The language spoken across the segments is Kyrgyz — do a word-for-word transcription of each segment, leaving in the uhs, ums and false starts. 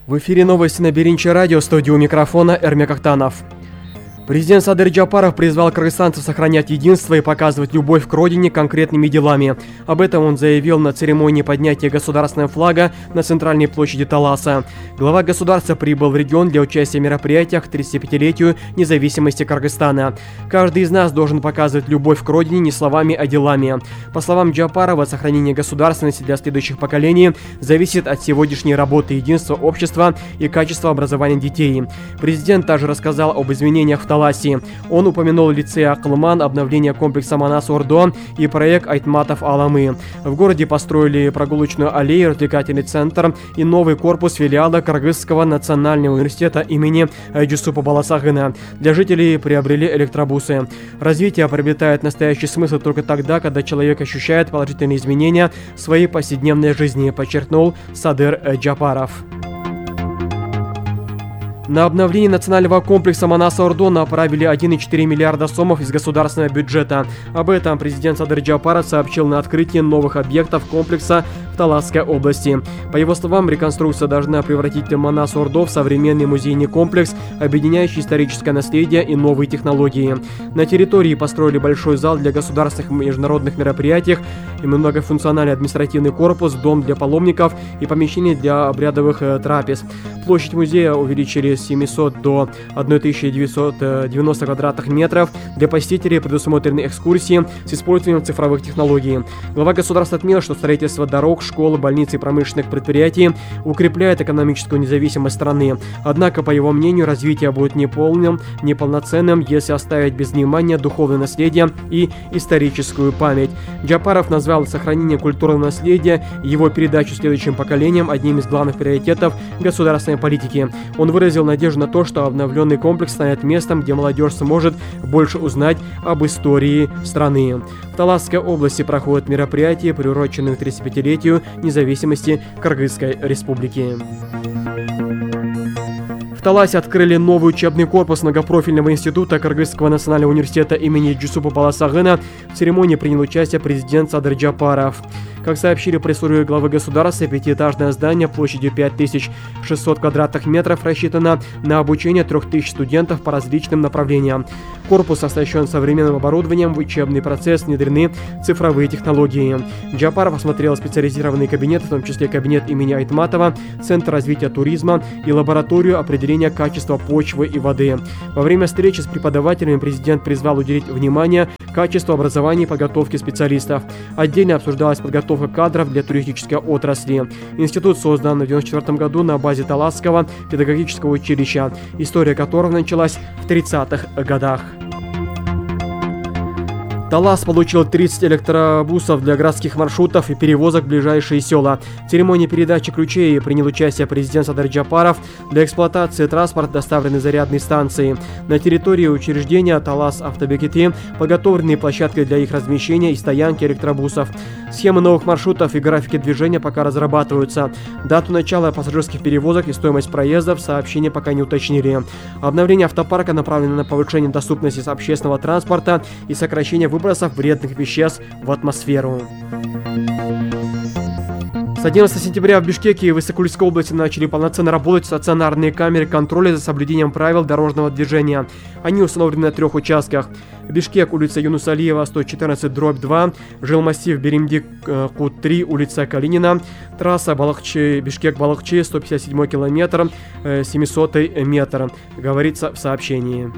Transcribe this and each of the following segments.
В эфире новости на Биринчи радио, студию микрофона Эрмек Ахтанов. Президент Садыр Джапаров призвал кыргызстанцев сохранять единство и показывать любовь к родине конкретными делами. Об этом он заявил на церемонии поднятия государственного флага на центральной площади Таласа. Глава государства прибыл в регион для участия в мероприятиях к тридцатипятилетию независимости Кыргызстана. Каждый из нас должен показывать любовь к родине не словами, а делами. По словам Джапарова, сохранение государственности для следующих поколений зависит от сегодняшней работы единства общества и качества образования детей. Президент также рассказал об изменениях в Таласе. Он упомянул лицей Акылман, обновление комплекса Манас-Ордо и проект Айтматов Аламы. В городе построили прогулочную аллею, развлекательный центр и новый корпус филиала Кыргызского национального университета имени Джусупа Баласагына. Для жителей приобрели электробусы. Развитие приобретает настоящий смысл только тогда, когда человек ощущает положительные изменения в своей повседневной жизни, подчеркнул Садыр Джапаров. На обновление национального комплекса Манас-Ордо направили один и четыре миллиарда сомов из государственного бюджета. Об этом президент Садыр Джапаров сообщил на открытии новых объектов комплекса в Таласской области. По его словам, реконструкция должна превратить Манас-Ордо в современный музейный комплекс, объединяющий историческое наследие и новые технологии. На территории построили большой зал для государственных и международных мероприятий, и многофункциональный административный корпус, дом для паломников и помещение для обрядовых э, трапез. Площадь музея увеличили с семисот до тысячи девятисот девяноста квадратных метров. Для посетителей предусмотрены экскурсии с использованием цифровых технологий. Глава государства отметил, что строительство дорог, школ, больниц и промышленных предприятий укрепляет экономическую независимость страны. Однако, по его мнению, развитие будет неполным, неполноценным, если оставить без внимания духовное наследие и историческую память. Джапаров назвал сохранение культурного наследия и его передачу следующим поколениям одним из главных приоритетов государственной политики. Он выразил надежду на то, что обновленный комплекс станет местом, где молодежь сможет больше узнать об истории страны. В Таласской области проходят мероприятия, приуроченные к тридцатипятилетию независимости Кыргызской республики. В Таласе открыли новый учебный корпус многопрофильного института Кыргызского национального университета имени Джусупа Баласагына. В церемонии принял участие президент Садыр Джапаров. Как сообщили пресс-службе главы государства, пятиэтажное здание площадью пять тысяч шестьсот квадратных метров рассчитано на обучение трёх тысяч студентов по различным направлениям. Корпус оснащен современным оборудованием, в учебный процесс внедрены цифровые технологии. Джапаров осмотрел специализированные кабинеты, в том числе кабинет имени Айтматова, Центр развития туризма и лабораторию определения качества почвы и воды. Во время встречи с преподавателями президент призвал уделить внимание качеству образования и подготовки специалистов. Отдельно обсуждалась подготовка кадров для туристической отрасли. Институт создан в девяносто четвёртом году на базе Таласского педагогического училища, история которого началась в тридцатых годах. Талас получил тридцать электробусов для городских маршрутов и перевозок в ближайшие села. В церемонии передачи ключей принял участие президент Садыр Джапаров. Для эксплуатации транспорта доставлены зарядные станции. На территории учреждения Талас Автобекети подготовлены площадки для их размещения и стоянки электробусов. Схемы новых маршрутов и графики движения пока разрабатываются. Дату начала пассажирских перевозок и стоимость проездов сообщения пока не уточнили. Обновление автопарка направлено на повышение доступности общественного транспорта и сокращение выбросов вредных веществ в атмосферу. С одиннадцатого сентября в Бишкеке и Высокульской области начали полноценно работать стационарные камеры контроля за соблюдением правил дорожного движения. Они установлены на трех участках. Бишкек, улица Юнуса Алиева, сто четырнадцать дробь два, жилмассив Беримдик, Кут три, улица Калинина, трасса Балахчи, Бишкек-Балахчи, сто пятьдесят седьмой километр, семисотый метр, говорится в сообщении.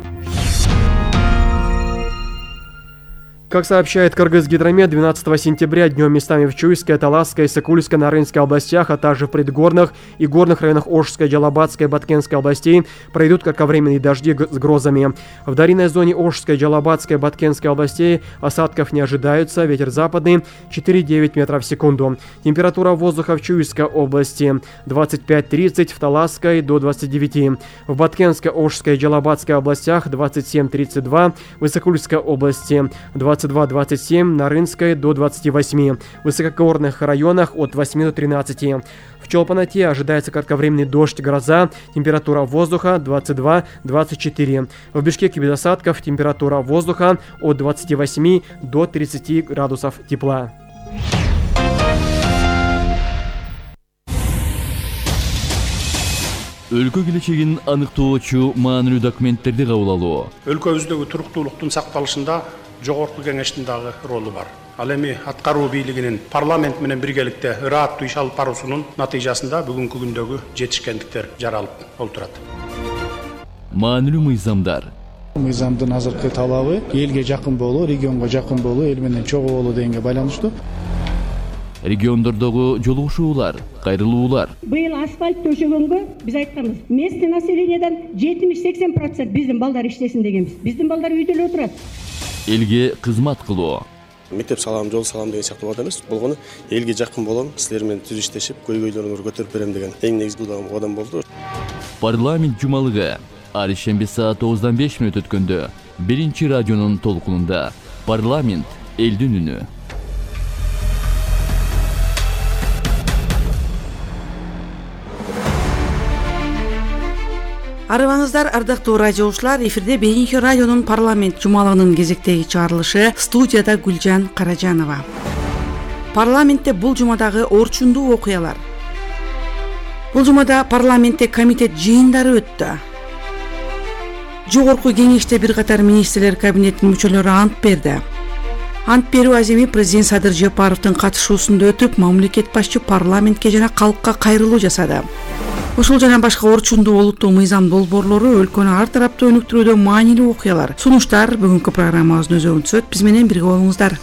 Как сообщает Кыргызгидромет, двенадцатого сентября днем местами в Чуйской, Таласской, Сыкульской, Нарынской областях, а также в предгорных и горных районах Ошской, Джалабатской, Баткенской областей пройдут кратковременные дожди с грозами. В долинной зоне Ошской, Джалабатской, Баткенской областей осадков не ожидаются, ветер западный четыре-девять метров в секунду. Температура воздуха в Чуйской области двадцать пять тридцать, в Таласской до двадцати девяти, в Баткенской, Ошской, Джалабатской областях двадцать семь тридцать два, в Высокульской области двадцать два двадцать семь, на Рынской до двадцати восьми, в высокогорных районах от восьми до тринадцати. В Чолпанате ожидается кратковременный дождь, гроза, температура воздуха двадцать два двадцать четыре. В Бишкеке без осадков, температура воздуха от двадцати восьми до тридцати градусов тепла. өлкө келечегин аныктоочу маанилүү документтерди кабыл алуу. Өлкөбүздөгү туруктуулуктун сакталышында жогорку кеңештин дагы ролу бар. Ал эми аткаруу бийлигинин парламент менен биргеликте ырааттуу иш алып баруусунун натыйжасында бүгүнкү күндөгү жетишкендиктер жаралып олтурат. Маанилүү мыйзамдар. Мыйзамдын азыркы талабы элге жакын болуу, регионго жакын болуу, эл менен чогуу болуу дегенге байланыштуу. Региондордогу жолугушуулар, кайрылуулар. Быйыл асфальт төшөгөнгө биз айтканбыз. Местный населениядан жетимиш сексен процент биздин балдар иштесин дегенбиз. Биздин балдар үйдө эле отурат. Элге кызмат кылуу. Мектеп салам, жол салам деген сыяктуу бат эмес. Болгону элге жакын болом, силер менен түз иштешип, көйгөйлөрүңөрдү көтөрүп берем деген эң негизги кадам болду. Парламент жумалыгы ар ишемби саат тогуздан беш мүнөт өткөндө биринчи радионун толкунунда парламент элдин үнү. Арыбаңыздар, ардактуу радиоучулар, эфирде биринчи радионун парламент жумалыгынын кезектеги чыгарылышы, студияда Гүлжан Каражанова. Парламентте бул жумадагы орчундуу окуялар. Бул жумада парламентте комитет жыйындары өттү. Жогорку кеңеште бир катар министрлер кабинетинин мүчөлөрү ант берди. Ант берүү аземи президент Садыр Жапаровдун катышуусунда өтүп, мамлекет башчы парламентке жана калкка кайрылуу жасады. Ушул жана башка орчундуу олуттуу мыйзам долбоорлору өлкөнү ар тараптуу өнүктүрүүдө маанилүү окуялар, сунуштар бүгүнкү программабыздын өзөгүн түзөт. Биз менен бирге болуңуздар.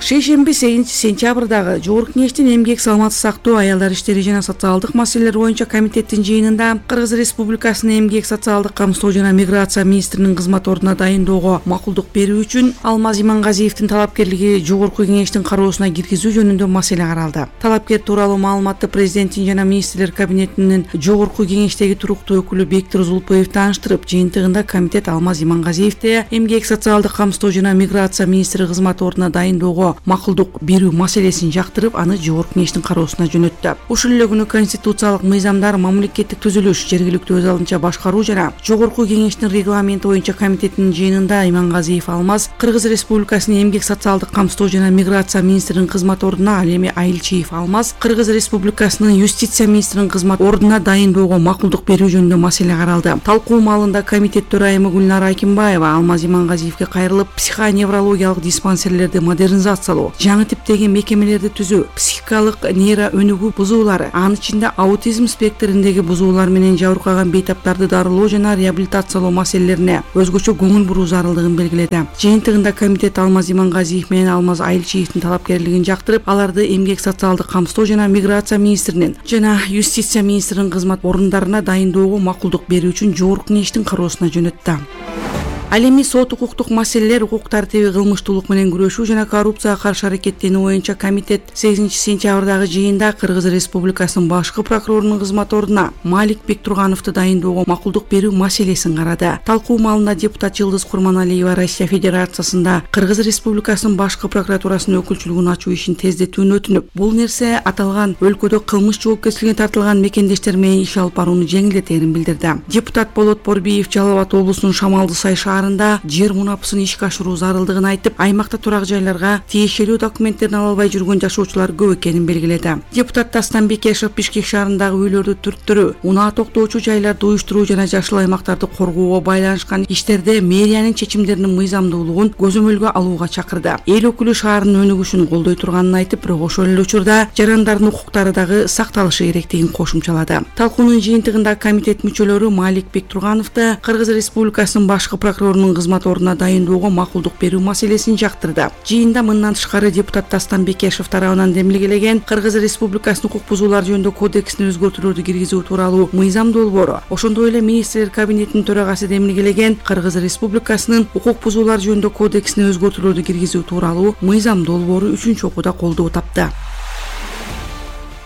Шейшемби сегизинчи сентябрдагы Жогорку кеңештин эмгек, саламаттык сактоо, аялдар иштери жана социалдык маселелер боюнча комитеттин жыйынында Кыргыз Республикасынын эмгек, социалдык камсыздоо жана миграция министринин кызмат ордуна дайындоого макулдук берүү үчүн Алмаз Имангазиевдин талапкерлиги Жогорку кеңештин кароосуна киргизүү жөнүндө маселе каралды. Талапкер тууралуу маалыматты президенттин жана министрлер кабинетинин Жогорку кеңештеги туруктуу өкүлү Бектур Зулпуев тааныштырып, жыйынтыгында комитет Алмаз Имангазиевди эмгек, социалдык камсыздоо жана миграция министри кызмат ордуна дайындоого макулдук берүү маселесин жактырып, аны Жогорку кеңештин кароосуна жөнөттү. Ушул эле күнү конституциялык мыйзамдар, мамлекеттик түзүлүш, жергиликтүү өз алдынча башкаруу жана Жогорку кеңештин регламенти боюнча комитетинин жыйынында Имангазиев Алмаз Кыргыз Республикасынын эмгек, социалдык камсыздоо жана миграция министринин кызмат ордуна, ал эми Айылчиев Алмаз Кыргыз Республикасынын юстиция министринин кызмат ордуна дайындоого макулдук берүү жөнүндө маселе каралды. Талкуу маалында комитет төрайымы Гүлнара Акимбаева Алмаз Имангазиевге кайрылып, психоневрологиялык диспансерлерди модернизация, жаңы типтеги мекемелерди түзүү, психикалык нейро өнүгүү бузуулары, анын ичинде аутизм спектриндеги бузуулар менен жабыркаган бейтаптарды дарылоо жана реабилитациялоо маселелерине өзгөчө көңүл буруу зарылдыгын белгиледи. Жыйынтыгында комитет Алмаз Имангазиев менен Алмаз Айылчиевдин талапкерлигин жактырып, аларды эмгек, социалдык камсыздоо жана миграция министринин жана юстиция министринин кызмат орундарына дайындоого макулдук берүү үчүн Жогорку кеңештин кароосуна жөнөттү. Ал эми сот укуктук маселелер, укук тартиби, кылмыштуулук менен күрөшүү жана коррупцияга каршы аракеттенүү боюнча комитет сегизинчи сентябрдагы жыйында Кыргыз Республикасынын башкы прокурорунун кызмат ордуна Малик Бектургановду дайындоого макулдук берүү маселесин карады. Талкуу маалында депутат Жылдыз Курманалиева Россия Федерациясында Кыргыз Республикасынын башкы прокуратурасынын өкүлчүлүгүн ачуу ишин тездетүүнү өтүнүп, бул нерсе аталган өлкөдө кылмыш жоопкерчилигине тартылган мекендештер менен иш алып барууну жеңилдетерин билдирди. Депутат Болот Борбиев Жалал Абад облусунун Шамалды Сай шаарында жер мунапысын ишке ашыруу зарылдыгын айтып, аймакта турак жайларга тиешелүү документтерин ала албай жүргөн жашоочулар көп экенин белгиледи. Депутат Дастан Бекешев Бишкек шаарындагы үйлөрдү түрттүрүү, унаа токтоочу жайларды уюштуруу жана жашыл аймактарды коргоого байланышкан иштерде мэриянын чечимдеринин мыйзамдуулугун көзөмөлгө алууга чакырды. Эл өкүлү шаардын өнүгүшүн колдой турганын айтып, бирок ошол эле учурда жарандардын укуктары дагы сакталышы керектигин кошумчалады. Талкуунун жыйынтыгында комитет мүчөлөрү Малик Бектургановду Кыргыз Республикасынын башкы прокурорунун кызмат ордуна дайындоого макулдук берүү маселесин жактырды. Жыйында мындан тышкары депутат Дастан Бекешев тарабынан демилгелеген Кыргыз Республикасынын укук бузуулар жөнүндө кодексине өзгөртүүлөрдү киргизүү тууралуу мыйзам долбоору, ошондой эле министрлер кабинетинин төрагасы демилгелеген Кыргыз Республикасынын укук бузуулар жөнүндө кодексине өзгөртүүлөрдү киргизүү тууралуу мыйзам долбоору үчүнчү окууда колдоо тапты.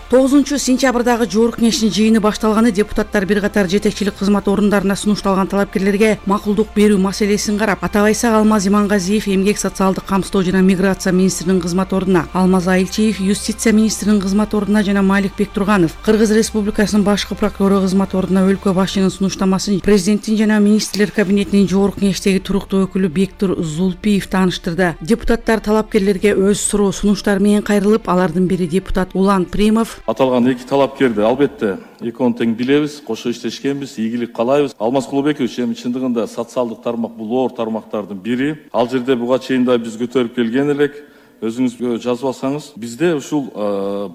тогузунчу сентябрдагы Жогорку кеңештин жыйыны башталганы депутаттар бир катар жетекчилик кызмат орундарына сунушталган талапкерлерге макулдук берүү маселесин карап, атабайсак Алмаз Имангазиев эмгек, социалдык камсыздоо жана миграция министринин кызмат ордуна, Алмаз Айылчиев юстиция министринин кызмат ордуна жана Малик Бектурганов Кыргыз Республикасынын башкы прокурору кызмат ордуна өлкө башчынын сунуштамасын президенттин жана министрлер кабинетинин Жогорку кеңештеги туруктуу өкүлү Бектур Зулпиев тааныштырды. Депутаттар талапкерлерге өз суроо сунуштары менен кайрылып, алардын бири депутат Улан Примов Аталган эки талапкерди албетте экөөнү тең билебиз, кошо иштешкенбиз, ийгилик каалайбыз. Алмаз Кулубекович эми чындыгында социалдык тармак бул оор тармактардын бири. Ал жерде буга чейин да биз көтөрүп келген элек. Өзүңүз жазып алсаңыз, бизде ушул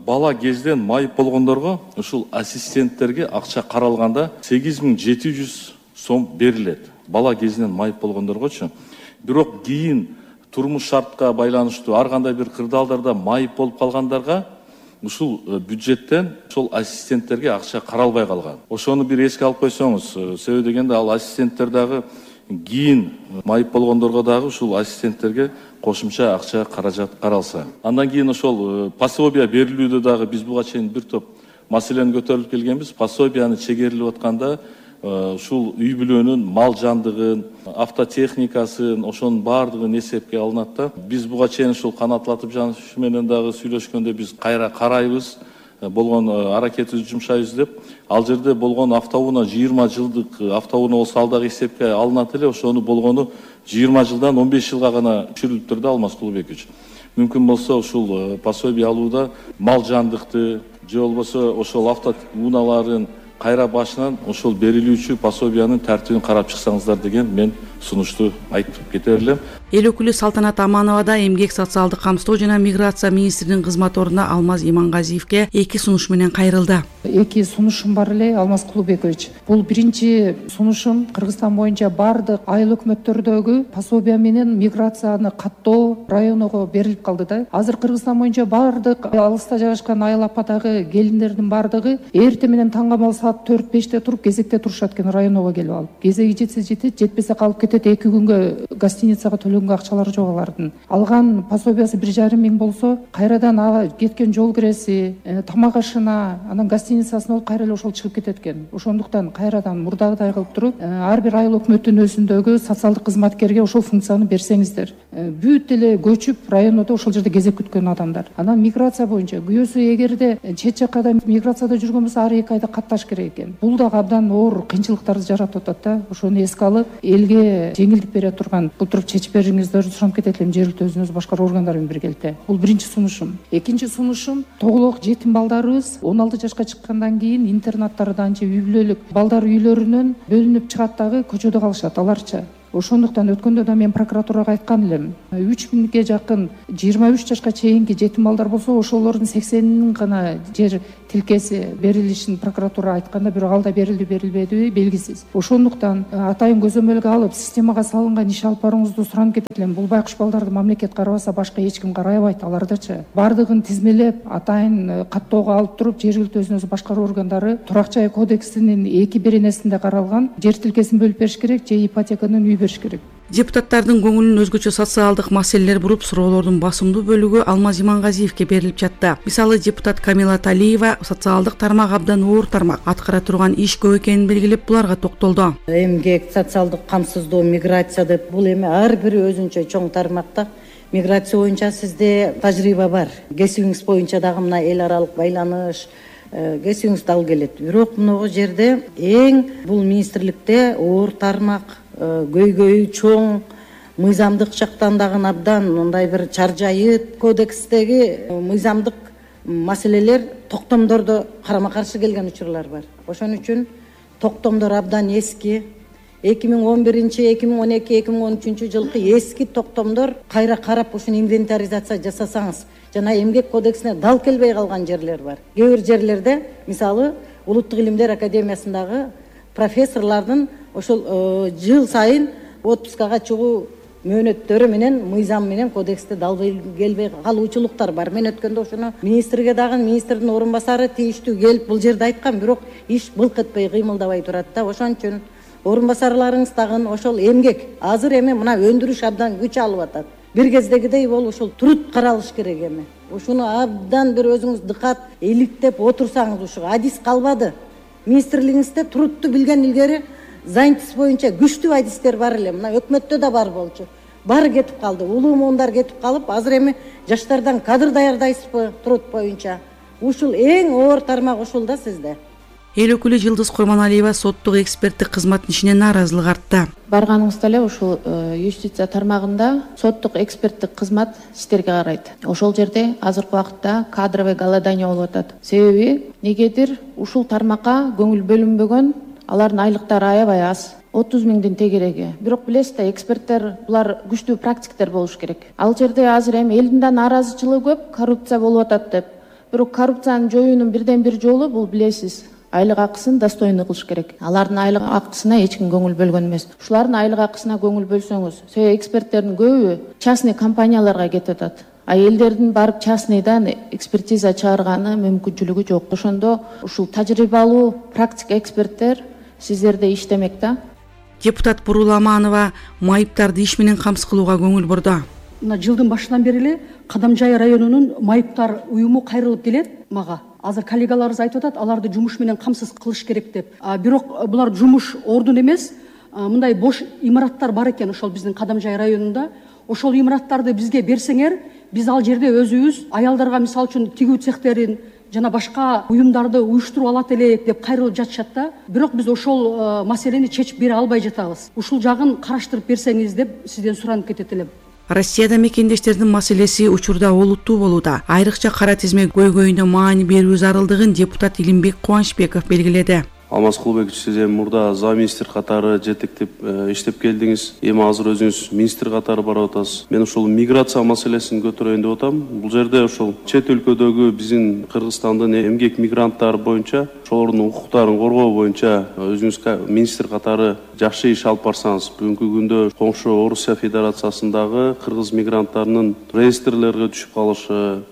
бала кезден майып болгондорго ушул ассистенттерге акча каралганда сегиз миң жети жүз сом берилет. Бала кезинен майып болгондоргочу. Бирок кийин турмуш шартка байланыштуу ар кандай бир кырдаалдарда майып болуп калгандарга ушул бюджеттен ошол ассистенттерге акча каралбай калган. Ошону бир эске алып койсоңуз, себеби дегенде ал ассистенттер дагы кийин майып болгондорго дагы ушул ассистенттерге кошумча акча каражат каралса. Андан кийин ошол пособия берилүүдө дагы биз буга чейин бир топ маселени көтөрүп келгенбиз. Пособияны чегерилип атканда ушул үй бүлөнүн мал жандыгын, автотехникасын, ошонун баардыгын эсепке алынат да. Биз буга чейин ушул канатлатып жаныш менен дагы сүйлөшкөндө биз кайра карайбыз, болгон аракетибизди жумшайбыз деп. Ал жерде болгон автоунаа жыйырма жылдык автоунаа болсо ал дагы эсепке алынат эле. Ошону болгону жыйырма жылдан он беш жылга гана түшүрүлүп турду Алмаз Кулубекович. Мүмкүн болсо ушул пособия алууда мал жандыкты же болбосо ошол автоунааларын кайра башынан ошол берилүүчү пособиянын тартибин карап чыксаңыздар деген мен сунушту айтып кете берлем. Эл өкүлү Салтанат Аманова да эмгек, социалдык камсыздоо жана миграция министринин кызмат ордуна Алмаз Имангазиевке эки сунуш менен кайрылды. Эки сунушум бар эле, Алмаз Кулубекович. Бул биринчи сунушум Кыргызстан боюнча бардык айыл өкмөттөрдөгү пособия менен миграцияны каттоо районуга берилип калды да. Азыр Кыргызстан боюнча бардык алыста жайгашкан айыл ападагы келиндердин бардыгы эртең менен таңгамал саат төрт беште туруп кезекте турушат экен районуга келип алып. Кезеги жетсе жетет, жетпесе калып кетет. Эки күнгө гостиницага төлөнгөн акчалары жок алардын. Алган пособиясы бир жарым миң болсо, кайрадан кеткен жол киреси, тамак ашына, анан гостиницасына болуп кайра эле ошол чыгып кетет экен. Ошондуктан кайрадан мурдагыдай кылып туруп, ар бир айыл өкмөттүнүн өзүндөгү социалдык кызматкерге ошол функцияны берсеңиздер. Бүт эле көчүп райондо ошол жерде кезек күткөн адамдар. Анан миграция боюнча күйөөсү эгерде чет жакка миграцияда жүргөн болсо ар эки айда катташ керек экен. Бул дагы абдан оор кыйынчылыктарды жаратып атат да. Ошону эске алып, элге жеңилдик бере турган бул туруп чечип бериңиздерди суранып кетет элем жергиликтүү өзүнүз башкаруу органдары менен биргеликте. Бул биринчи сунушум. Экинчи сунушум тоголок жетим балдарыбыз он алты жашка чыккандан кийин интернаттардан же үй бүлөлүк балдар үйлөрүнөн бөлүнүп чыгат дагы көчөдө калышат аларча. Ошондуктан өткөндө да мен прокуратурага айткан элем. үч миңге жакын жыйырма үч жашка чейинки жетим балдар болсо, ошолордун сексенинин гана жер тилкеси берилишин прокуратура айтканда, бирок ал да берилди берилбеди белгисиз. Ошондуктан атайын көзөмөлгө алып, системага салынган иш алып барууңузду суранып кетет элем. Бул байкуш балдарды мамлекет карабаса, башка эч ким карабайт алардычы. Бардыгын тизмелеп, атайын каттоого алып туруп, жергиликтүү өзүнүз башкаруу органдары турак жай кодексинин эки беренесинде каралган жер тилкесин бөлүп бериш керек же ипотеканын үй бериш керек. Депутаттардын көңүлүн өзгөчө социалдык маселелер буруп, суроолордун басымдуу бөлүгү Алмаз Имангазиевке берилип жатты. Мисалы, депутат Камила Талиева социалдык тармак абдан оор тармак, аткара турган иш көп экенин белгилеп, буларга токтолду. Эмгек, социалдык камсыздоо, миграция деп бул эми ар бири өзүнчө чоң тармакта. Миграция боюнча сизде тажрыйба бар. Кесибиңиз боюнча дагы мына эл аралык байланыш кесибиңиз дал келет. Бирок мынагу жерде эң бул министрликте оор тармак, көйгөйү чоң, мыйзамдык жактан дагы абдан мындай бир чаржайыт кодекстеги мыйзамдык маселелер токтомдордо карама каршы келген учурлар бар. Ошон үчүн токтомдор абдан эски. эки миң он биринчи, эки миң он эки, эки миң он үчүнчү жылкы эски токтомдор кайра карап ушуну инвентаризация жасасаңыз, жана эмгек кодексине дал келбей калган жерлер бар. Кээ бир жерлерде, мисалы, Улуттук илимдер академиясындагы профессорлордун ошол жыл сайын отпускага чыгуу мөөнөттөрү менен, мыйзам менен кодексте дал келбей калуучулуктар бар. Мен өткөндө ошону министрге дагы, министрдин орун басары тийиштүү келип бул жерде айткан, бирок иш былк этпей, кыймылдабай турат да. Ошон үчүн орун басарларыңыз дагы ошол эмгек азыр эми мына өндүрүш абдан күч алып атат. Бир кездегидей бол ушул труд каралыш керек эми. Ушуну абдан бир өзүңүз дыкат иликтеп отурсаңыз, ушу адис калбады. Министрлигиңизде трудту билген илгери занятость боюнча күчтүү адистер бар эле. Мына өкмөттө да бар болчу. Бары кетип калды. Улуу муундар кетип калып, азыр эми жаштардан кадр даярдайсызбы труд боюнча? Ушул эң оор тармак ушул да сизде. Эл өкүлү Жылдыз Курманалиева соттук эксперттик кызматтын ишине нааразылык артты. Барганыңызда эле ушул юстиция тармагында соттук эксперттик кызмат сиздерге карайт. Ошол жерде азыркы убакытта кадровый голодание болуп атат. Себеби негедир ушул тармакка көңүл бөлүнбөгөн, алардын айлыктары аябай аз. отуз миңдин тегереги. Бирок билесиз да, эксперттер булар күчтүү практиктер болуш керек. Ал жерде азыр эми элдин да нааразычылыгы көп, коррупция болуп атат деп. Бирок коррупцияны жоюунун бирден бир жолу бул билесиз, айлык акысын достойнуу кылыш керек. Алардын айлык акысына эч ким көңүл бөлгөн эмес. Ушулардын айлык акысына көңүл бөлсөңүз, себеби эксперттердин көбү частный компанияларга кетип атат. А элдердин барып частныйдан экспертиза чыгарганы мүмкүнчүлүгү жок. Ошондо ушул тажрыйбалуу практик эксперттер сиздерде иштемек да. Депутат Бурула Аманова майыптарды иш менен камсыз кылууга көңүл бурду. Мына жылдын башынан бери эле Кадамжай районунун майыптар уюму кайрылып келет мага. Азыр коллегаларыбыз айтып атат, аларды жумуш менен камсыз кылыш керек деп. Бирок булар жумуш ордун эмес, мындай бош имараттар бар экен ошол биздин Кадамжай районунда. Ошол имараттарды бизге берсеңер, биз ал жерде өзүбүз аялдарга мисалы үчүн тигүү цехтерин жана башка уюмдарды уюштуруп алат элек деп кайрылып жатышат да. Бирок биз ошол маселени чечип бере албай жатабыз. Ушул жагын караштырып берсеңиз деп сизден суранып кетет элем. Россияда мекендештердин маселеси учурда олуттуу болууда. Айрыкча кара тизме көйгөйүнө маани берүү зарылдыгын депутат Илимбек Кубанычбеков белгиледи. Алмаз Кулбекович, сиз эми мурда замминистр катары жетектеп иштеп келдиңиз. Эми азыр өзүңүз министр катары барып атасыз. Мен ошол миграция маселесин көтөрөйүн деп атам. Бул жерде ошол чет өлкөдөгү биздин Кыргызстандын эмгек мигранттары боюнча, ошолордун укуктарын коргоо боюнча өзүңүз министр катары жакшы иш алып барсаңыз, бүгүнкү күндө коңшу Орусия Федерациясындагы кыргыз мигранттарынын реестрлерге түшүп калышы,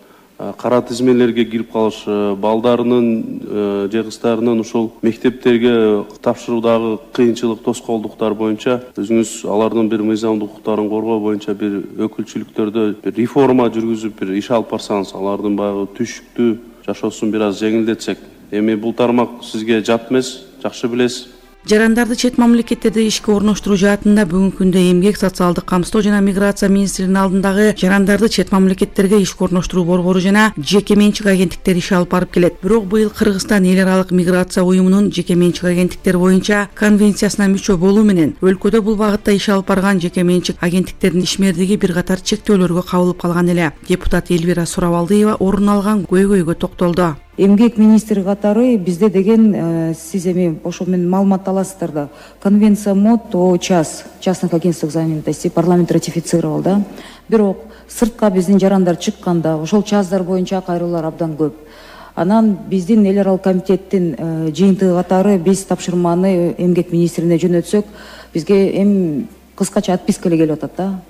кара тизмелерге кирип калышы, балдарынын же кыздарынын ушул мектептерге тапшыруудагы кыйынчылык, тоскоолдуктар боюнча өзүңүз алардын бир мыйзамдык укуктарын коргоо боюнча бир өкүлчүлүктөрдө бир реформа жүргүзүп, бир иш алып барсаңыз, алардын баягы түшүктүү жашоосун бир аз жеңилдетсек. Эми бул тармак сизге жат эмес, жакшы билесиз. Жарандарды чет мамлекеттерде ишке орноштуруу жаатында бүгүнкү күндө эмгек, социалдык камсыздоо жана миграция министринин алдындагы жарандарды чет мамлекеттерге ишке орноштуруу борбору жана жеке менчик агенттиктер иш алып барып келет. Бирок быйыл Кыргызстан эл аралык миграция уюмунун жеке менчик агенттиктер боюнча конвенциясына мүчө болуу менен өлкөдө бул багытта иш алып барган жеке менчик агенттиктердин ишмердиги бир катар чектөөлөргө кабылып калган эле. Депутат Элвира Сурабалдиева орун алган көйгөйгө токтолду. Эмгек министри катары бизде деген сиз эми ошо менен маалымат аласыздар да. Конвенция МОД о час частных агентствах занятости парламент ратифицировал да. Бирок сыртка биздин жарандар чыкканда ошол чаздар боюнча кайрылуулар абдан көп. Анан биздин эл аралык комитеттин жыйынтыгы катары биз тапшырманы эмгек министрине жөнөтсөк, бизге эми кыскача отписка эле келип атат да.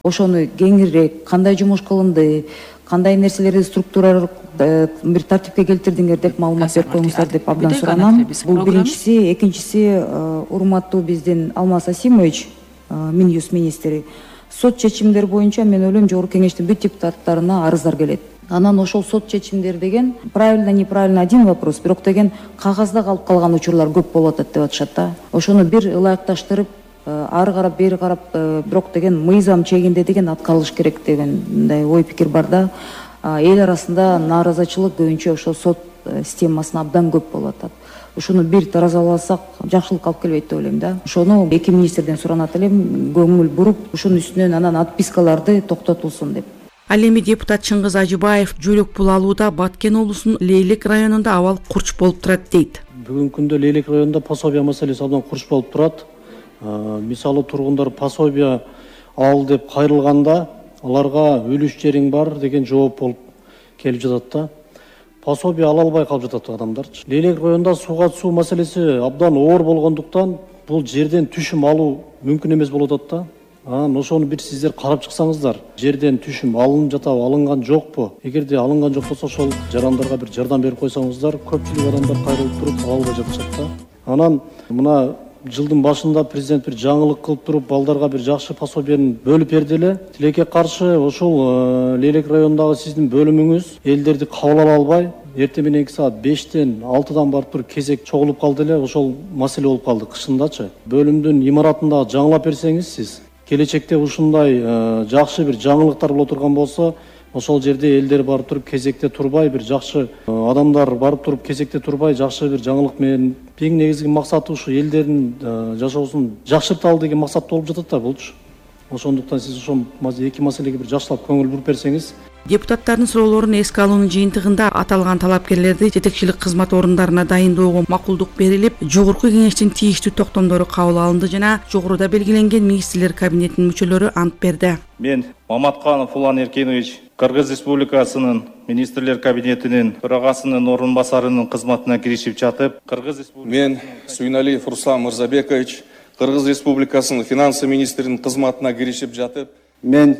Ошону кеңирээк кандай жумуш кылынды, кандай нерселерди структуралык бир тартипке келтирдиңер деп маалымат берип коюңуздар деп абдан суранам. Бул биринчиси, экинчиси, урматтуу биздин Алмаз Асимович, Минюст министри, сот чечимдери боюнча мен ойлойм жогорку кеңештин бүт депутаттарына арыздар келет. Анан ошол сот чечимдер деген правильно, неправильно один вопрос, бирок деген кагазда калып калган учурлар көп болуп атат деп атышат да. Ошону бир ылайыкташтырып, ары карап бери карап, бирок деген мыйзам чегинде деген аткарылыш керек деген мындай ой пикир бар да. Эл арасында нааразычылык көбүнчө ошол сот системасына абдан көп болуп атат. Ошону бир таразалап алсак жакшылык алып келбейт деп ойлойм да. Ошону эки министрден суранат элем, көңүл буруп, ушунун үстүнөн анан отпискаларды токтотулсун деп. Ал эми депутат Чыңгыз Ажыбаев жөлөк пул алууда Баткен облусунун Лейлек районунда абал курч болуп турат дейт. Бүгүнкү күндө Лейлек районунда пособия маселеси абдан курч болуп турат. Мисалы тургундар пособия ал деп кайрылганда аларга үлүш жериң бар деген жооп болуп келип жатат да. Пособия ала албай калып жатат адамдарчы. Лейлек районунда сууга суу маселеси абдан оор болгондуктан бул жерден түшүм алуу мүмкүн эмес болуп атат да. Анан ошону бир сиздер карап чыксаңыздар, жерден түшүм алынып жатабы, алынган жокпу? Эгерде алынган жок болсо ошол жарандарга бир жардам берип койсоңуздар, көпчүлүк адамдар кайрылып туруп ала албай жатышат да. Анан мына жылдын башында президент бир жаңылык кылып туруп, балдарга бир жакшы пособияны бөлүп берди эле. Тилекке каршы ошол Лейлек районундагы сиздин бөлүмүңүз элдерди кабыл ала албай, эртең мененки саат бештен алтыдан барып туруп кезек чогулуп калды эле. Ошол маселе болуп калды кышындачы. Бөлүмдүн имаратында жаңылап берсеңиз сиз, келечекте ушундай жакшы бир жаңылыктар боло турган болсо, ошол жерде элдер барып туруп кезекте турбай, бир жакшы адамдар барып туруп кезекте турбай, жакшы бир жаңылык менен эң негизги максаты ушу элдердин жашоосун жакшырталы деген максат болуп жатат да булчу. Ошондуктан сиз ошол эки маселеге бир жакшылап көңүл буруп берсеңиз. Депутаттардын суроолорун эске алуунун жыйынтыгында аталган талапкерлерди жетекчилик кызмат орундарына дайындоого макулдук берилип, жогорку кеңештин тийиштүү токтомдору кабыл алынды жана жогоруда белгиленген министрлер кабинетинин мүчөлөрү ант берди. Мен Маматканов Улан Эркенович Кыргыз Республикасынын министрлер кабинетинин төрагасынын орун басарынын кызматына киришип жатып, Кыргыз Республикасынын Мен Суйналиев Руслан Мырзабекович Кыргыз Республикасынын финансы министринин кызматына киришип жатып, Мен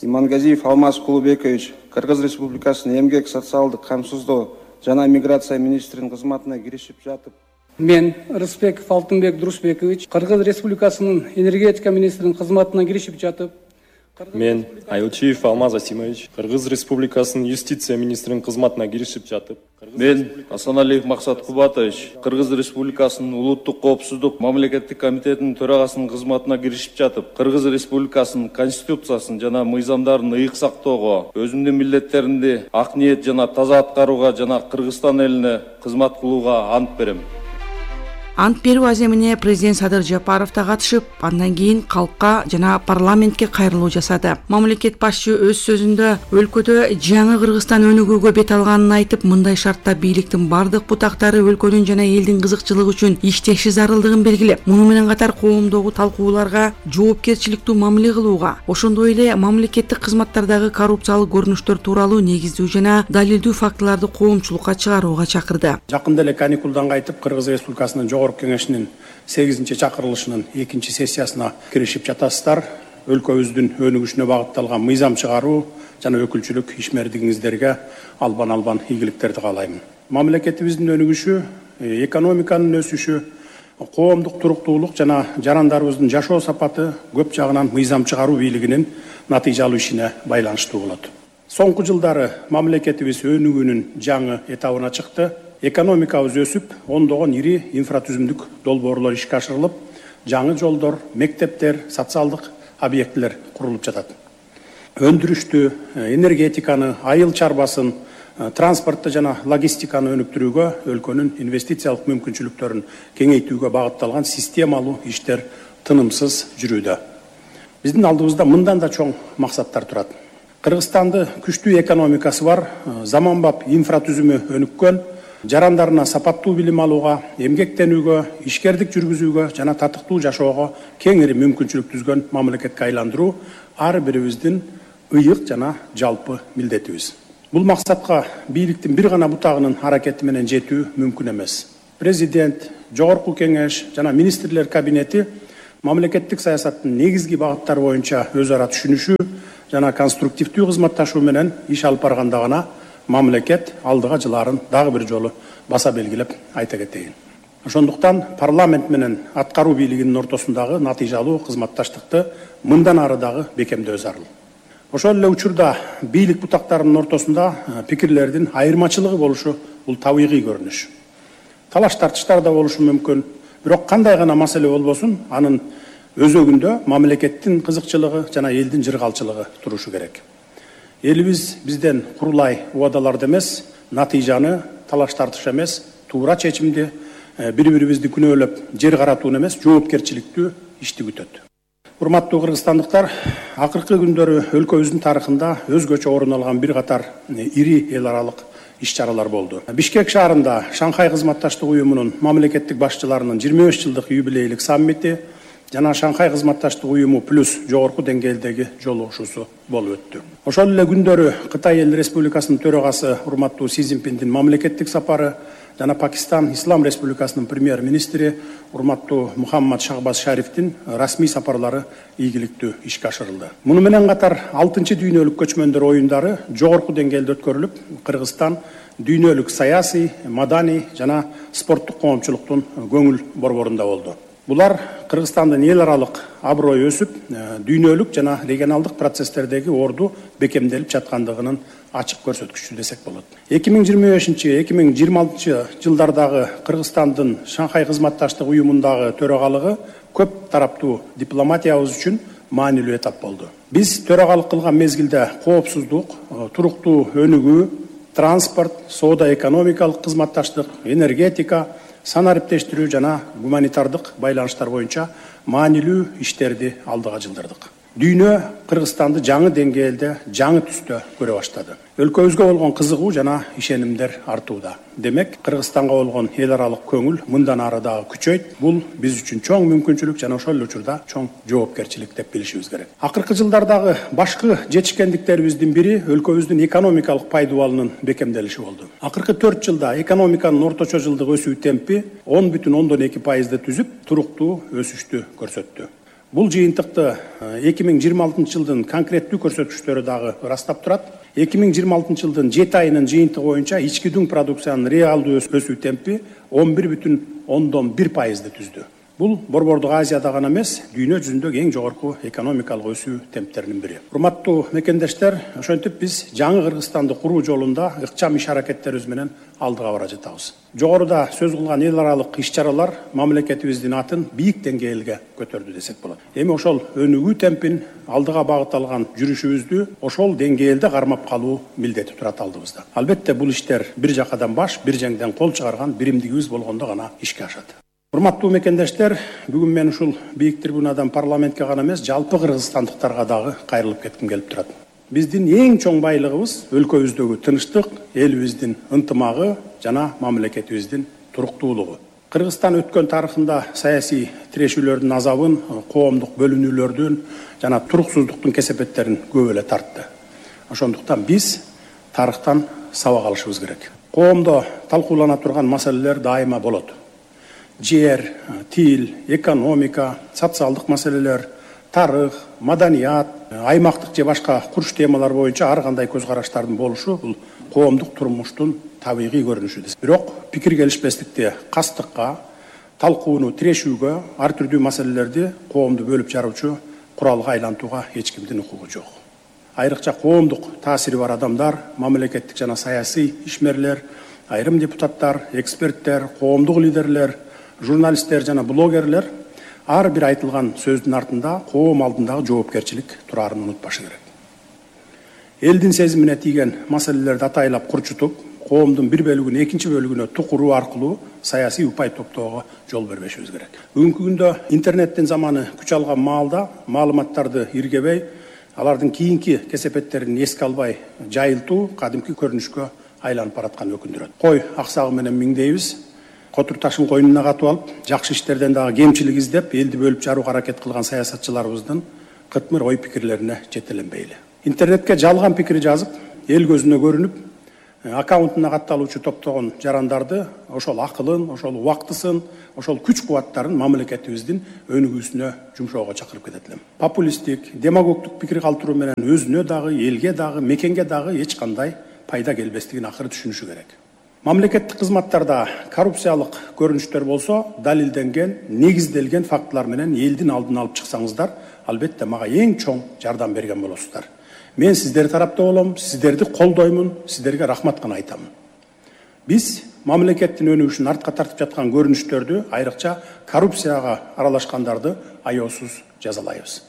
Имангазиев Алмаз Кулубекович Кыргыз Республикасынын эмгек социалдык камсыздоо жана миграция министринин кызматына киришип жатып, Мен Рыспеков Алтынбек Дурусбекович Кыргыз Республикасынын энергетика министринин кызматына киришип жатып, Мен Айылчиев Алмаз Асимович Кыргыз Республикасынын юстиция министринин кызматына киришип жатып, Мен Асаналиев Максат Кубатович Кыргыз Республикасынын улуттук коопсуздук мамлекеттик комитетинин төрагасынын кызматына киришип жатып, Кыргыз Республикасынын конституциясын жана мыйзамдарын ыйык сактоого, өзүмдүн милдеттеримди ак ниет жана таза аткарууга жана Кыргызстан элине кызмат кылууга ант берем. Ант берүү аземине президент Садыр Жапаров да катышып, андан кийин калкка жана парламентке кайрылуу жасады. Мамлекет башчы өз сөзүндө өлкөдө жаңы Кыргызстан өнүгүүгө бет алганын айтып, мындай шартта бийликтин бардык бутактары өлкөнүн жана элдин кызыкчылыгы үчүн иштеши зарылдыгын белгилеп, муну менен катар коомдогу талкууларга жоопкерчиликтүү мамиле кылууга, ошондой эле мамлекеттик кызматтардагы коррупциялык көрүнүштөр тууралуу негиздүү жана далилдүү фактыларды коомчулукка чыгарууга чакырды. Жакында эле каникулдан кайтып, Кыргыз Республикасынын жогорку кеңешинин сегизинчи чакырылышынын экинчи сессиясына киришип жатасыздар. Өлкөбүздүн өнүгүшүнө багытталган мыйзам чыгаруу жана өкүлчүлүк ишмердигиңиздерге албан-албан ийгиликтерди каалайм. Мамлекетибиздин өнүгүшү, экономиканын өсүшү, коомдук туруктуулук жана жарандарыбыздын жашоо сапаты көп жагынан мыйзам чыгаруу бийлигинин натыйжалуу ишине байланыштуу болот. Соңку жылдары мамлекетибиз өнүгүүнүн жаңы этабына чыкты. Экономикабыз өсүп, ондогон ири инфратүзүмдүк долбоорлор ишке ашырылып, жаңы жолдор, мектептер, социалдык объектилер курулуп жатат. Өндүрүштү, энергетиканы, айыл чарбасын, транспортты жана логистиканы өнүктүрүүгө, өлкөнүн инвестициялык мүмкүнчүлүктөрүн кеңейтүүгө багытталган системалуу иштер тынымсыз жүрүүдө. Биздин алдыбызда мындан да чоң максаттар турат. Кыргызстанды күчтүү экономикасы бар, заманбап инфратүзүмү өнүккөн, жарандарына сапаттуу билим алууга, эмгектенүүгө, ишкердик жүргүзүүгө жана татыктуу жашоого кеңири мүмкүнчүлүк түзгөн мамлекетке айландыруу ар бирибиздин ыйык жана жалпы милдетибиз. Бул максатка бийликтин бир гана бутагынын аракети менен жетүү мүмкүн эмес. Президент, жогорку кеңеш жана министрлер кабинети мамлекеттик саясаттын негизги багыттары боюнча өз ара түшүнүшүү жана конструктивдүү кызматташуу менен иш алып барганда гана мамлекет алдыга жылаарын дагы бир жолу баса белгилеп айта кетейин. Ошондуктан парламент менен аткаруу бийлигинин ортосундагы натыйжалуу кызматташтыкты мындан ары дагы бекемдөө зарыл. Ошол эле учурда бийлик бутактарынын ортосунда пикирлердин айырмачылыгы болушу бул табигый көрүнүш. Талаш тартыштар да болушу мүмкүн, бирок кандай гана маселе болбосун, анын өзөгүндө мамлекеттин кызыкчылыгы жана элдин жыргалчылыгы турушу керек. Элибиз бизден курулай убадаларды эмес, натыйжаны, талаш тартыш эмес, туура чечимди, бири-бирибизди күнөөлөп, жер каратууну эмес, жоопкерчиликтүү ишти күтөт. Урматтуу кыргызстандыктар, акыркы күндөрү өлкөбүздүн тарыхында өзгөчө орун алган бир катар ири эл аралык иш-чаралар болду. Бишкек шаарында Шанхай кызматташтык уюмунун мамлекеттик башчыларынын жыйырма беш жылдык юбилейлик саммити жана Шанхай кызматташтык уюму плюс жогорку деңгээлдеги жолугушуусу болуп өттү. Ошол эле күндөрү Кытай Эл Республикасынын төрагасы урматтуу Си Цзиньпиндин мамлекеттик сапары жана Пакистан Ислам Республикасынын премьер-министри урматтуу Мухаммад Шахбаз Шарифтин расмий сапарлары ийгиликтүү ишке ашырылды. Муну менен катар алтынчы дүйнөлүк көчмөндөр оюндары жогорку деңгээлде өткөрүлүп, Кыргызстан дүйнөлүк саясий, маданий жана спорттук коомчулуктун көңүл борборунда болду. Булар Кыргызстандын эл аралык аброю өсүп, дүйнөлүк жана регионалдык процесстердеги орду бекемделип жаткандыгынын ачык көрсөткүчү десек болот. эки миң жыйырма бешинчи эки миң жыйырма алтынчы жылдардагы Кыргызстандын Шанхай кызматташтык уюмундагы төрагалыгы көп тараптуу дипломатиябыз үчүн маанилүү этап болду. Биз төрагалык кылган мезгилде коопсуздук, туруктуу өнүгүү, транспорт, соода экономикалык кызматташтык, энергетика, санариптештирүү жана гуманитардык байланыштар боюнча маанилүү иштерди алдыга жылдырдык. Дүйнө Кыргызстанды жаңы деңгээлде, жаңы түстө көрө баштады. Өлкөбүзгө болгон кызыгуу жана ишенимдер артууда. Демек, Кыргызстанга болгон эл аралык көңүл мындан ары дагы күчөйт. Бул биз үчүн чоң мүмкүнчүлүк жана ошол эле учурда чоң жоопкерчилик деп билишибиз керек. Акыркы жылдардагы башкы жетишкендиктерибиздин бири өлкөбүздүн экономикалык пайдубалынын бекемделиши болду. Акыркы төрт жылда экономиканын орточо жылдык өсүү темпи он бүтүн ондон эки пайызды түзүп, туруктуу өсүштү көрсөттү. Бул жыйынтыкты эки миң жыйырма алтынчы жылдын конкреттүү көрсөткүчтөрү дагы ырастап турат. эки миң жыйырма алтынчы жылдын жети айынын жыйынтыгы боюнча ички дүң продукциянын реалдуу өсүү темпи он бир бүтүн ондон бир пайызды түздү. Бул Борбордук Азияда гана эмес, дүйнө жүзүндөгү эң жогорку экономикалык өсүү темптеринин бири. Урматтуу мекендештер, ошентип биз жаңы Кыргызстанды куруу жолунда ыкчам иш аракеттерибиз менен алдыга бара жатабыз. Жогоруда сөз кылган эл аралык иш-чаралар мамлекетибиздин атын бийик деңгээлге көтөрдү десек болот. Эми ошол өнүгүү темпин алдыга багытталган жүрүшүбүздү ошол деңгээлде кармап калуу милдети турат алдыбызда. Албетте бул иштер бир жакадан баш, бир жеңден кол чыгарган биримдигибиз болгондо гана ишке ашат. Урматтуу мекендештер, бүгүн мен ушул бийик трибунадан парламентке гана эмес, жалпы кыргызстандыктарга дагы кайрылып кетким келип турат. Биздин эң чоң байлыгыбыз өлкөбүздөгү тынчтык, элибиздин ынтымагы жана мамлекетибиздин туруктуулугу. Кыргызстан өткөн тарыхында саясий тирешүүлөрдүн азабын, коомдук бөлүнүүлөрдүн жана туруксуздуктун кесепеттерин көп эле тартты. Ошондуктан биз тарыхтан сабак алышыбыз керек. Коомдо талкуулана турган маселелер дайыма болот. Жер, тил, экономика, социалдык маселелер, тарых, маданият, аймактык же башка курч темалар боюнча ар кандай көз караштардын болушу бул коомдук турмуштун табигый көрүнүшү. Бирок пикир келишпестикти кастыкка, талкууну тирешүүгө, ар түрдүү маселелерди коомду бөлүп жаруучу куралга айлантууга эч кимдин укугу жок. Айрыкча коомдук таасири бар адамдар, мамлекеттик жана саясий ишмерлер, айрым депутаттар, эксперттер, коомдук лидерлер, журналисттер жана блогерлер ар бир айтылган сөздүн артында коом алдындагы жоопкерчилик турарын унутпашы керек. Элдин сезимине тийген маселелерди атайлап курчутуп, коомдун бир бөлүгүн экинчи бөлүгүнө тукуруу аркылуу саясий упай топтоого жол бербешибиз керек. Бүгүнкү күндө интернеттин заманы күч алган маалда маалыматтарды иргебей, алардын кийинки кесепеттерин эске албай жайылтуу кадимки көрүнүшкө айланып бараткан өкүндүрөт. Кой аксагы менен миңдейбиз. Котур ташын койнуна катып алып, жакшы иштерден дагы кемчилик издеп, элди бөлүп жарууга аракет кылган саясатчыларыбыздын кытмыр ой пикирлерине жетеленбейли. Интернетке жалган пикир жазып, эл көзүнө көрүнүп, аккаунтуна катталуучу топтогон жарандарды ошол акылын, ошол убактысын, ошол күч-кубаттарын мамлекетибиздин өнүгүүсүнө жумшоого чакырып кетет элем. Популисттик, демагогдук пикир калтыруу менен өзүнө дагы, элге дагы, мекенге дагы эч кандай пайда келбестигин акыры түшүнүшү керек. Мамлекеттик кызматтарда коррупциялык көрүнүштөр болсо, далилденген, негизделген фактылар менен элдин алдын алып чыксаңыздар, албетте мага эң чоң жардам берген болосуздар. Мен сиздер тарапта болом, сиздерди колдоймун, сиздерге рахмат гана айтамын. Биз мамлекеттин өнүгүшүн артка тартып жаткан көрүнүштөрдү, айрыкча коррупцияга аралашкандарды аяосуз жазалайбыз.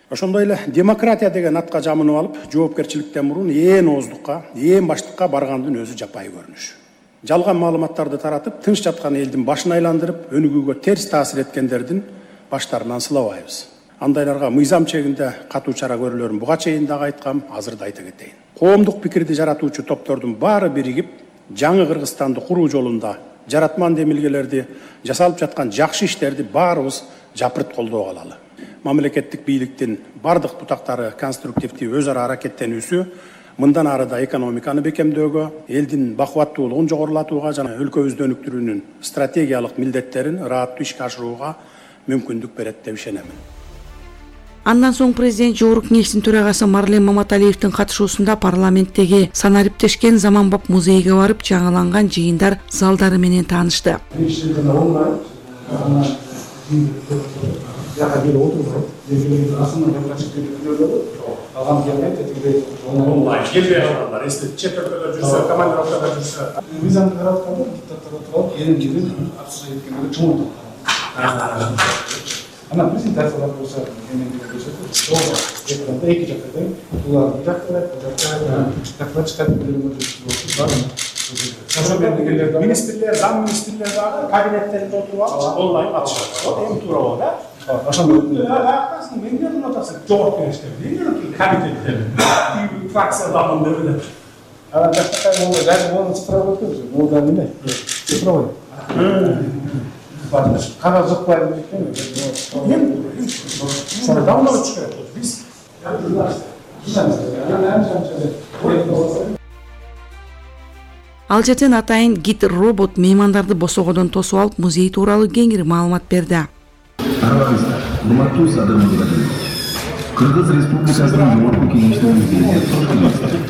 Ошондой эле демократия деген атка жамынып алып, жоопкерчиликтен мурун ээн ооздукка, ээн баштыкка баргандын өзү жапайы көрүнүш. Жалган маалыматтарды таратып, тынч жаткан элдин башын айландырып, өнүгүүгө терс таасир эткендердин баштарынан сылабайбыз. Андайларга мыйзам чегинде катуу чара көрүлөрүн буга чейин дагы айткам, азыр да айта кетейин. Коомдук пикирди жаратуучу топтордун баары биригип, жаңы Кыргызстанды куруу жолунда жаратман демилгелерди, жасалып жаткан жакшы иштерди баарыбыз жапырт колдоп алалы. Мамлекеттик бийликтин бардык бутактары конструктивдүү өз ара аракеттенүүсү мындан ары да экономиканы бекемдөөгө, элдин бакубаттуулугун жогорулатууга жана өлкөбүздү өнүктүрүүнүн стратегиялык милдеттерин ырааттуу ишке ашырууга мүмкүндүк берет деп ишенемин. Андан соң президент Жогорку Кеңештин төрагасы Марлен Маматалиевдин катышуусунда парламенттеги санариптешкен Заманбап музейге барып, жаңыланган жыйындар залдары менен таанышты. Онлайн келбей калгандар, эсте чет өлкөдө жүрсө, командировкада жүрсө, мыйзамды каратканда диктаторго туралып, элин келин абсурд эткенге чоң Анан презентациялар болсо, эмнелер болсо, экранда эки жакта тең, булар бир жакта, бул жакта, доклад чыгат, министрлер, зам министрлер дагы кабинеттеринде отуруп алып, онлайн катышат. Эми туура болот, а? Ошондой акасын менде атасы жогорку кеңештер, эмне комитеттер, фракциядагы деп. А жакта кайсы даже оны цифровой тоже, бул да эмне? Цифровой. Кагаз жокпайбы экен? Эми сара давно чыгат. Биз Ал жерден атайын гид робот меймандарды босогодон тосуп алып, музей тууралуу кеңири маалымат берди. Арабистар, урматтуу садыр музейдашылар. Кыргыз Республикасынын жогорку кеңешинин музейинде кош келипсиздер.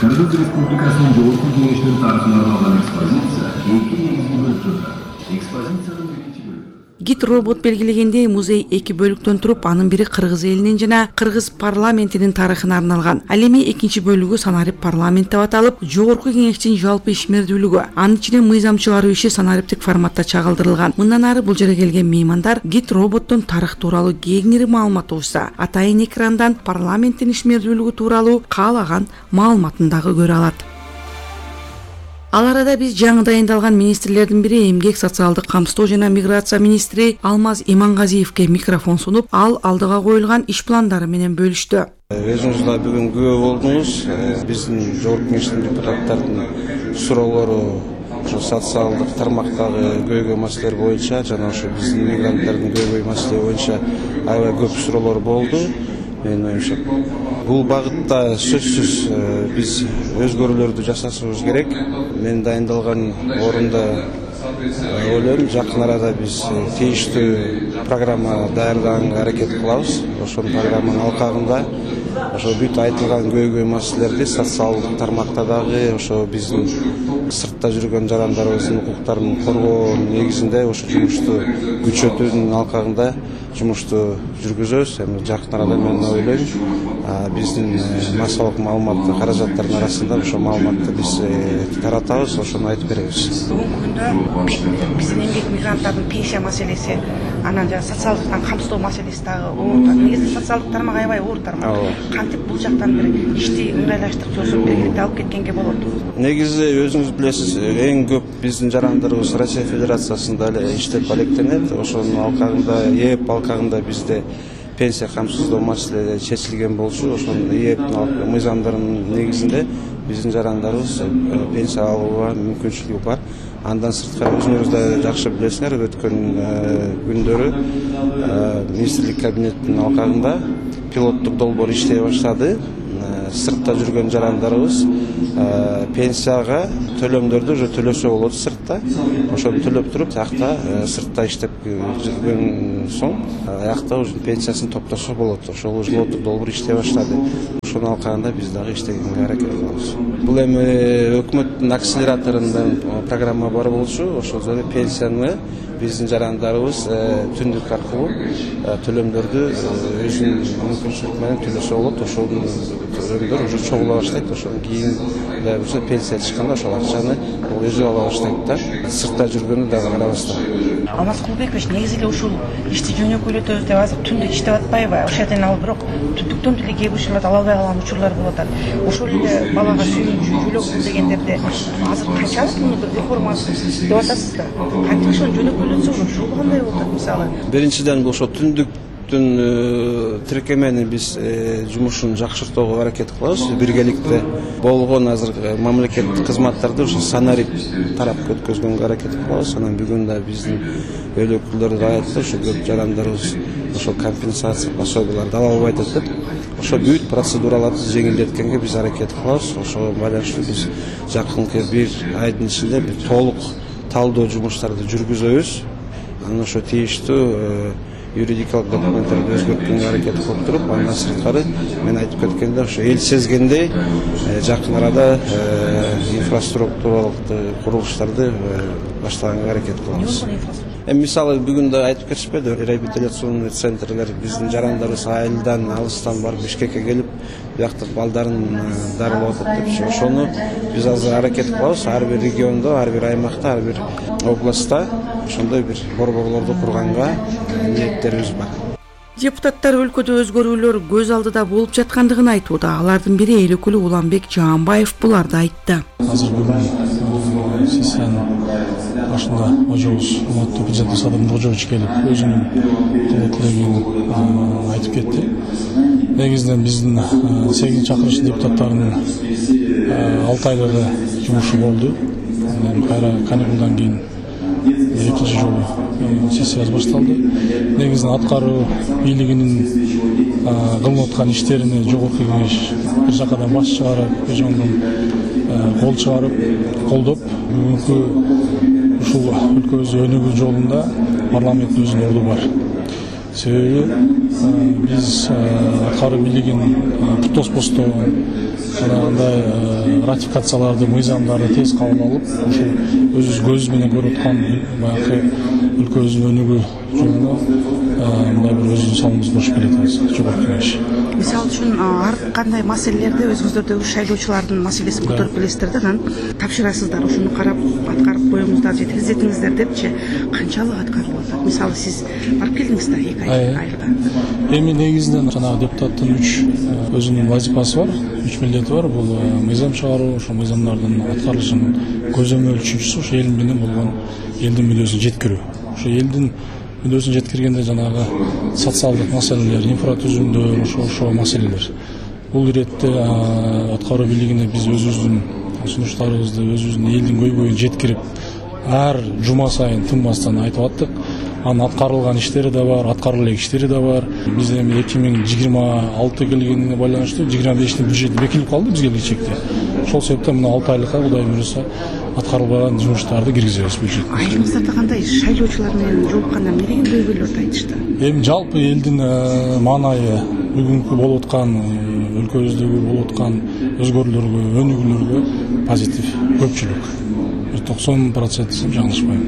Кыргыз Республикасынын жогорку кеңешинин тарыхына арналган экспозиция эки негизги бөлүктөрдө. Экспозициянын биринчи бөлүгү Гид робот белгилегендей, музей эки бөлүктөн туруп, анын бири кыргыз элинин жана кыргыз парламентинин тарыхына арналган. Ал эми экинчи бөлүгү санарип парламент деп аталып, жогорку кеңештин жалпы ишмердүүлүгү, анын ичинен мыйзам чыгаруу иши санариптик форматта чагылдырылган. Мындан ары бул жерге келген меймандар гид роботтон тарых тууралуу кеңири маалымат угса, атайын экрандан парламенттин ишмердүүлүгү тууралуу каалаган маалыматын дагы көрө алат. Ал арада биз жаңы дайындалган министрлердин бири эмгек социалдык камсыздоо жана миграция министри Алмаз Имангазиевке микрофон сунуп, ал алдыга коюлган иш пландары менен бөлүштү. Өзүңүз да бүгүн күбө болдуңуз. Биздин жогорку кеңештин депутаттарынын суроолору ошо социалдык тармактагы көйгөй маселелер боюнча жана ошо биздин мигранттардын көйгөй маселе боюнча аябай көп суроолор болду. Менин оюмча, бул багытта сөзсүз биз өзгөрүүлөрдү жасашыбыз керек. Мен дайындалган орунда ойлойм, жакын арада биз тийиштүү программа даярдаганга аракет кылабыз. Ошол программанын алкагында ошо бүт айтылган көйгөй маселелерди социалдык тармакта дагы ошо биздин сыртта жүргөн жарандарыбыздын укуктарын коргоо негизинде ошо жумушту күчөтүүнүн алкагында жумушту жүргүзөбүз. Эми жакын арада мен ойлойм, биздин массалык маалымат каражаттарынын арасында ошо маалыматты биз таратабыз, ошону айтып беребиз. Бүгүнкү күндө биздин эмгек мигранттардын пенсия маселеси, анан жана социалдыктан камсыздоо маселеси дагы оор. Негизи социалдык тармак аябай оор тармак. Кантип бул жактан бир ишти ыңгайлаштырып, жосуп белгилеп алып кеткенге болот? Негизи өзүңүз билесиз, эң көп биздин жарандарыбыз Россия Федерациясында эле иштеп алектенет. Ошонун алкагында, ээп алкагында бизде пенсия камсыздоо маселеси чечилген болчу. Ошонун ээптин мыйзамдарынын негизинде биздин жарандарыбыз пенсия алууга мүмкүнчүлүгү бар. Андан сырткары өзүңүз да жакшы билесиңер, өткөн күндөрү министрлик кабинетинин алкагында пилоттук долбоор иштей баштады. Сыртта жүргөн жарандарыбыз пенсияга төлөмдөрдү уже төлөсө болот сыртта. Ошону төлөп туруп, аякта сыртта иштеп жүргөн соң, аякта уже пенсиясын топтосо болот. Ошол уже пилоттук долбоор иштей баштады. Ошонун алкагында биз дагы иштегенге аракет кылабыз. Бул эми өкмөттүн акселераторунда программа бар болчу. Ошол жерде пенсияны биздин жарандарыбыз түндүк аркылуу төлөмдөрдү өзүнүн мүмкүнчүлүгү менен төлөсө болот. Ошол төлөмдөр уже чогула баштайт. Ошондон кийин да болсо пенсия чыкканда ошол акчаны өзү ала баштайт да. Сыртта жүргөнү дагы карабастан. Алмаз Кулбекович, негизи эле ушул ишти жөнөкөйлөтөбүз деп азыр түндүк иштеп атпайбы? Ошол жерден ал бирок түндүктөн деле кээ бир учурларда ала албай калган учурлар болуп атат. Ошол эле балага сүйүүчү жөлөк дегендерде азыр канчалык муну бир реформа деп атасыз да? Кантип ошону жөнөкөйлөтсө ошол кандай болот мисалы? Биринчиден ошо түндүк тиркемени биз жумушун жакшыртууга аракет кылабыз. Биргеликте болгон азыр мамлекеттик кызматтарды ошо санарип тарапка өткөзгөнгө аракет кылабыз. Анан бүгүн да биздин эл өкүлдөрү да айтты, ошо көп жарандарыбыз ошо компенсация пособияларды ала албайт деп. Ошо бүт процедураларды жеңилдеткенге биз аракет кылабыз. Ошого байланыштуу биз жакынкы бир айдын ичинде бир толук талдоо жумуштарды жүргүзөбүз. Анан ошо тийиштүү юридикалык документтерди өзгөрткөнгө аракет кылып туруп, андан сырткары мен айтып кеткендей, ошо эл сезгендей жакын арада инфраструктуралык курулуштарды баштаганга аракет кылабыз. Эми мисалы бүгүн да айтып кетишпеди, реабилитационный центрлер биздин жарандарыбыз айылдан, алыстан барып Бишкекке келип бияктык балдарын дарылап атат деп ошону биз азыр аракет кылабыз. Ар бир региондо, ар бир аймакта, ар бир областта ошондой бир борборлорду курганга ниеттерибиз бар. Депутаттар өлкөдө өзгөрүүлөр көз алдыда болуп жаткандыгын айтууда. Алардын бири эл өкүлү Уланбек Жаанбаев буларды айтты. Азыр бүгүн сессияны башында Ожобуз урматтуу президент Садыр Нуркожоевич келип өзүнүн тилегин айтып кетти. Негизинен биздин сегизинчи чакырыш депутаттарынын алты айлыгы жумушу болду. Кайра каникулдан кийин экинчи жолу сессиясы башталды. Негизинен аткаруу бийлигинин кылып аткан иштерине жогорку кеңеш бир жакадан баш чыгарып, ошондон кол чыгарып, колдоп, бүгүнкү ушул өлкөбүздүн өнүгүү жолунда парламенттин өзүнүн орду бар. Себеби биз аткаруу бийлигин туттоспостон андай ратификацияларды, мыйзамдарды тез кабыл алып, ушул өзүбүз көзүбүз менен көрүп аткан баягы өлкөбүздүн өнүгүү жолуна мындай бир өзүнүн салымыбызды кошуп келатабыз. Жогорку кеңеш. Мисалы үчүн ар кандай маселелерди өзүңүздөрдөгү шайлоочулардын маселесин көтөрүп келесиздер да, анан тапшырасыздар, ошону карап аткарып коюңуздар же тездетиңиздер депчи, канчалык аткарылып атат? Мисалы сиз барып келдиңиз да эки айда. Эми негизинен жанагы депутаттын үч өзүнүн вазифасы бар, үч милдети бар. Бул мыйзам чыгаруу, ошо мыйзамдардын аткарылышынын көзөмөл үчүнчүсү ошо эл менен болгон элдин мүддөсүн жеткирүү. Ошо элдин мүддөсүн жеткиргенде жанагы социалдык маселелер, инфратүзүмдөр, ошо ошо маселелер. Бул иретте аткаруу бийлигине биз өзүбүздүн сунуштарыбызды, өзүбүздүн элдин көйгөйүн жеткирип, ар жума сайын тынбастан айтып аттык. Анын аткарылган иштери да бар, аткарыла элек иштери да бар. Биз эми эки миң жыйырма алты келгенине байланыштуу жыйырма бештин бюджети бекилип калды бизге келечекте. Ошол себептен мына алты айлыкка Кудай буйруса аткарылбаган жумуштарды киргизебиз бюджетке. Айрымыңыздарда кандай шайлоочулар менен жолукканда эмне деген көйгөйлөрдү айтышты? Эми жалпы элдин маанайы бүгүнкү болуп аткан өлкөбүздөгү болуп аткан өзгөрүүлөргө, өнүгүүлөргө позитив көпчүлүк. токсон процент десем жаңылышпайм.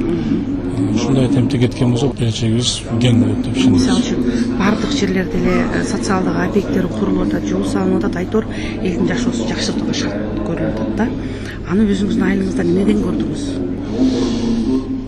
Ушундай темпте кеткен болсо келечегибиз кең болот деп ишенебиз. Мисалы үчүн бардык жерлерде эле социалдык объекттер курулуп атат, жол салынып атат, айтор элдин жашоосу жакшыртууга шарт көрүлүп атат да. Аны өзүңүздүн айылыңызда эмнеден көрдүңүз?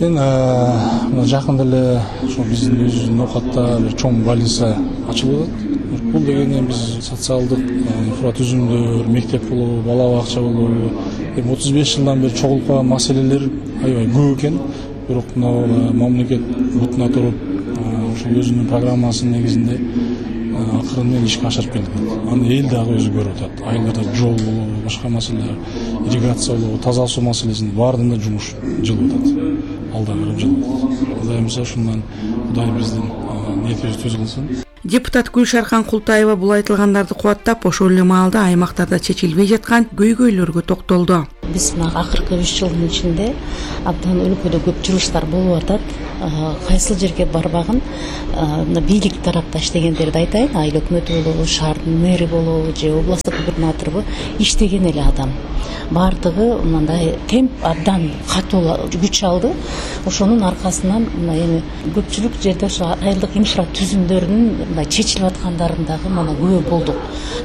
Мен мына жакында эле ошо биздин өзүбүздүн оокатта бир чоң больница ачылып атат. Бул дегенде биз социалдык инфратүзүмдөр, мектеп болобу, бала бакча болобу, эми отуз беш жылдан бери чогулуп калган маселелер аябай көп экен. Бирок мына мамлекет бутуна туруп, ошол өзүнүн программасынын негизинде акырын менен ишке ашырып келди. Аны эл дагы өзү көрүп атат. Айылдарда жол болобу, башка маселелер, ирригация болобу, таза суу маселесинин баарында жумуш жылып атат. Алда кырып жылып атат. Кудай мырза ушундан Кудай биздин ниетибизди түз кылсын. Депутат Гүлшархан Култаева бул айтылгандарды кубаттап, ошол эле маалда аймактарда чечилбей жаткан көйгөйлөргө токтолду. Биз мына акыркы үч жылдын ичинде абдан өлкөдө көп жумуштар болуп атат. Кайсыл жерге барбагын мына бийлик тарапта иштегендерди айтайын, айыл өкмөтү болобу, шаардын мэри болобу же областтык губернатору иштеген эле адам. Бардыгы мындай темп абдан катуу күч алды. Ошонун аркасынан мына эми көпчүлүк жерде ошо айылдык инфратүзүмдөрдүн мындай чечилип аткандарын дагы мына күбө болдук.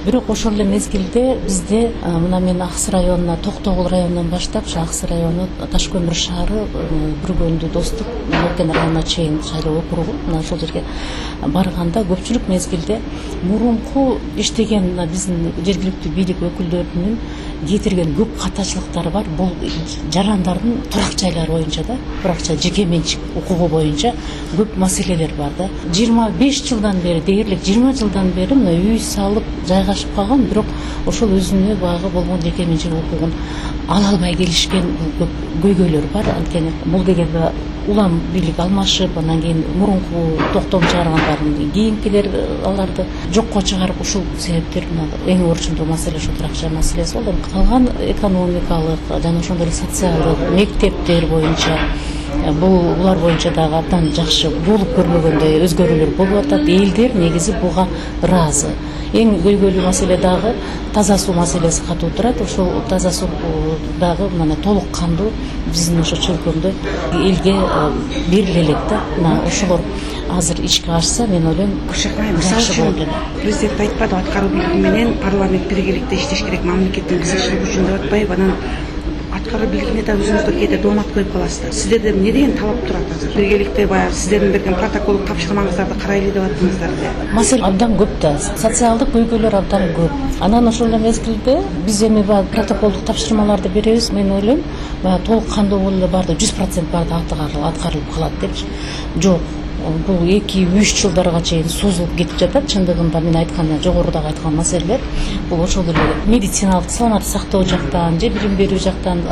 Бирок ошол эле мезгилде бизде мына мен Акс районуна, Токтогул районунан баштап, Акс району, Таш көмүр шаары, Бүргөндү, Достук, Нуркен районуна чейин шайлоо округу, мына ошол жерге барганда көпчүлүк мезгилде мурунку иштеген биздин жергиликтүү бийлик өкүлдөрүнүн кетирген көп катачылыктары бар. Бул жарандардын турак жайлары боюнча да, туракча жеке менчик укугу боюнча көп маселелер бар да. жыйырма беш жылдан бери, дээрлик жыйырма жылдан бери мына үй салып жайгашып калган, бирок ошол өзүнө багы болгон жеке менчик укугун ала албай келишкен көп көйгөйлөр бар. Анткени бул дегенде улам бийлик алмашып, анан кийин мурунку токтом чыгаргандардын кийинкилер аларды жокко чыгарып, ушул себептер эң орчундуу маселе ошо турак жай маселеси болду. Калган экономикалык жана ошондой эле социалдык мектептер боюнча бул булар боюнча дагы абдан жакшы болуп көрмөгөндөй өзгөрүүлөр болуп атат. Элдер негизи буга ыраазы. Эң көйгөйлүү маселе дагы таза суу маселеси катуу турат. Ошол таза суу дагы мына толук кандуу биздин ошо чөлкөмдө элге бериле элек да. Мына ошолор азыр ишке ашса, мен ойлойм, мисалы үчүн президент айтпады, аткаруу бийлиги менен парламент биргеликте иштеш керек, мамлекеттин кызыкчылыгы үчүн деп атпайбы, анан аткаруу бийлигине да өзүңүздөр кээде доомат коюп каласыздар. Сиздерден эмне деген талап турат азыр? Биргеликте баягы сиздердин берген протоколдук тапшырмаңыздарды карайлы деп аттыңыздар да. Маселе абдан көп да, социалдык көйгөйлөр абдан көп. Анан ошол эле мезгилде биз эми баягы протоколдук тапшырмаларды беребиз. Мен ойлойм, баягы толук кандуу болуп эле барды, жүз процент барды аткарылып калат депчи. Жок. Бул эки үч жылдарга чейин созулуп кетип жатат. Чындыгында мен айткан, жогорудагы айткан маселелер бул ошол эле медициналык саламатты сактоо жактан, же билим берүү жактан,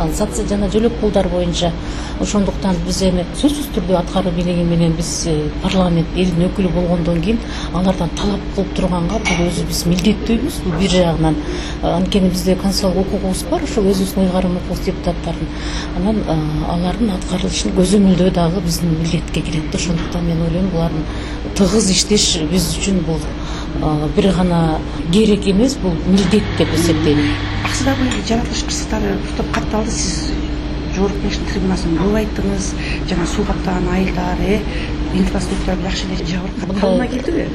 жана жөлөк пулдар боюнча. Ошондуктан биз эми сөзсүз түрдө аткаруу бийлиги менен биз парламент элдин өкүлү болгондон кийин алардан талап кылып турганга бул өзү биз милдеттүүбүз. Бул бир жагынан анткени бизде конституциялык укугубуз бар, ошол өзүбүздүн ыйгарым укугубуз депутаттардын. Анан алардын аткарылышын көзөмөлдөө дагы биздин милдетке кирет. Ошондуктан мен ойлойм, булардын тыгыз иштеш биз үчүн бул бир гана керек эмес, бул милдет деп эсептейм. Аксыдагы жаратылыш кырсыктары топ катталды. Сиз жогорку кеңештин трибунасынан көп айттыңыз, жана суу каптаган айылдар, э инфраструктура жакшы эле жабыркап калына келдиби?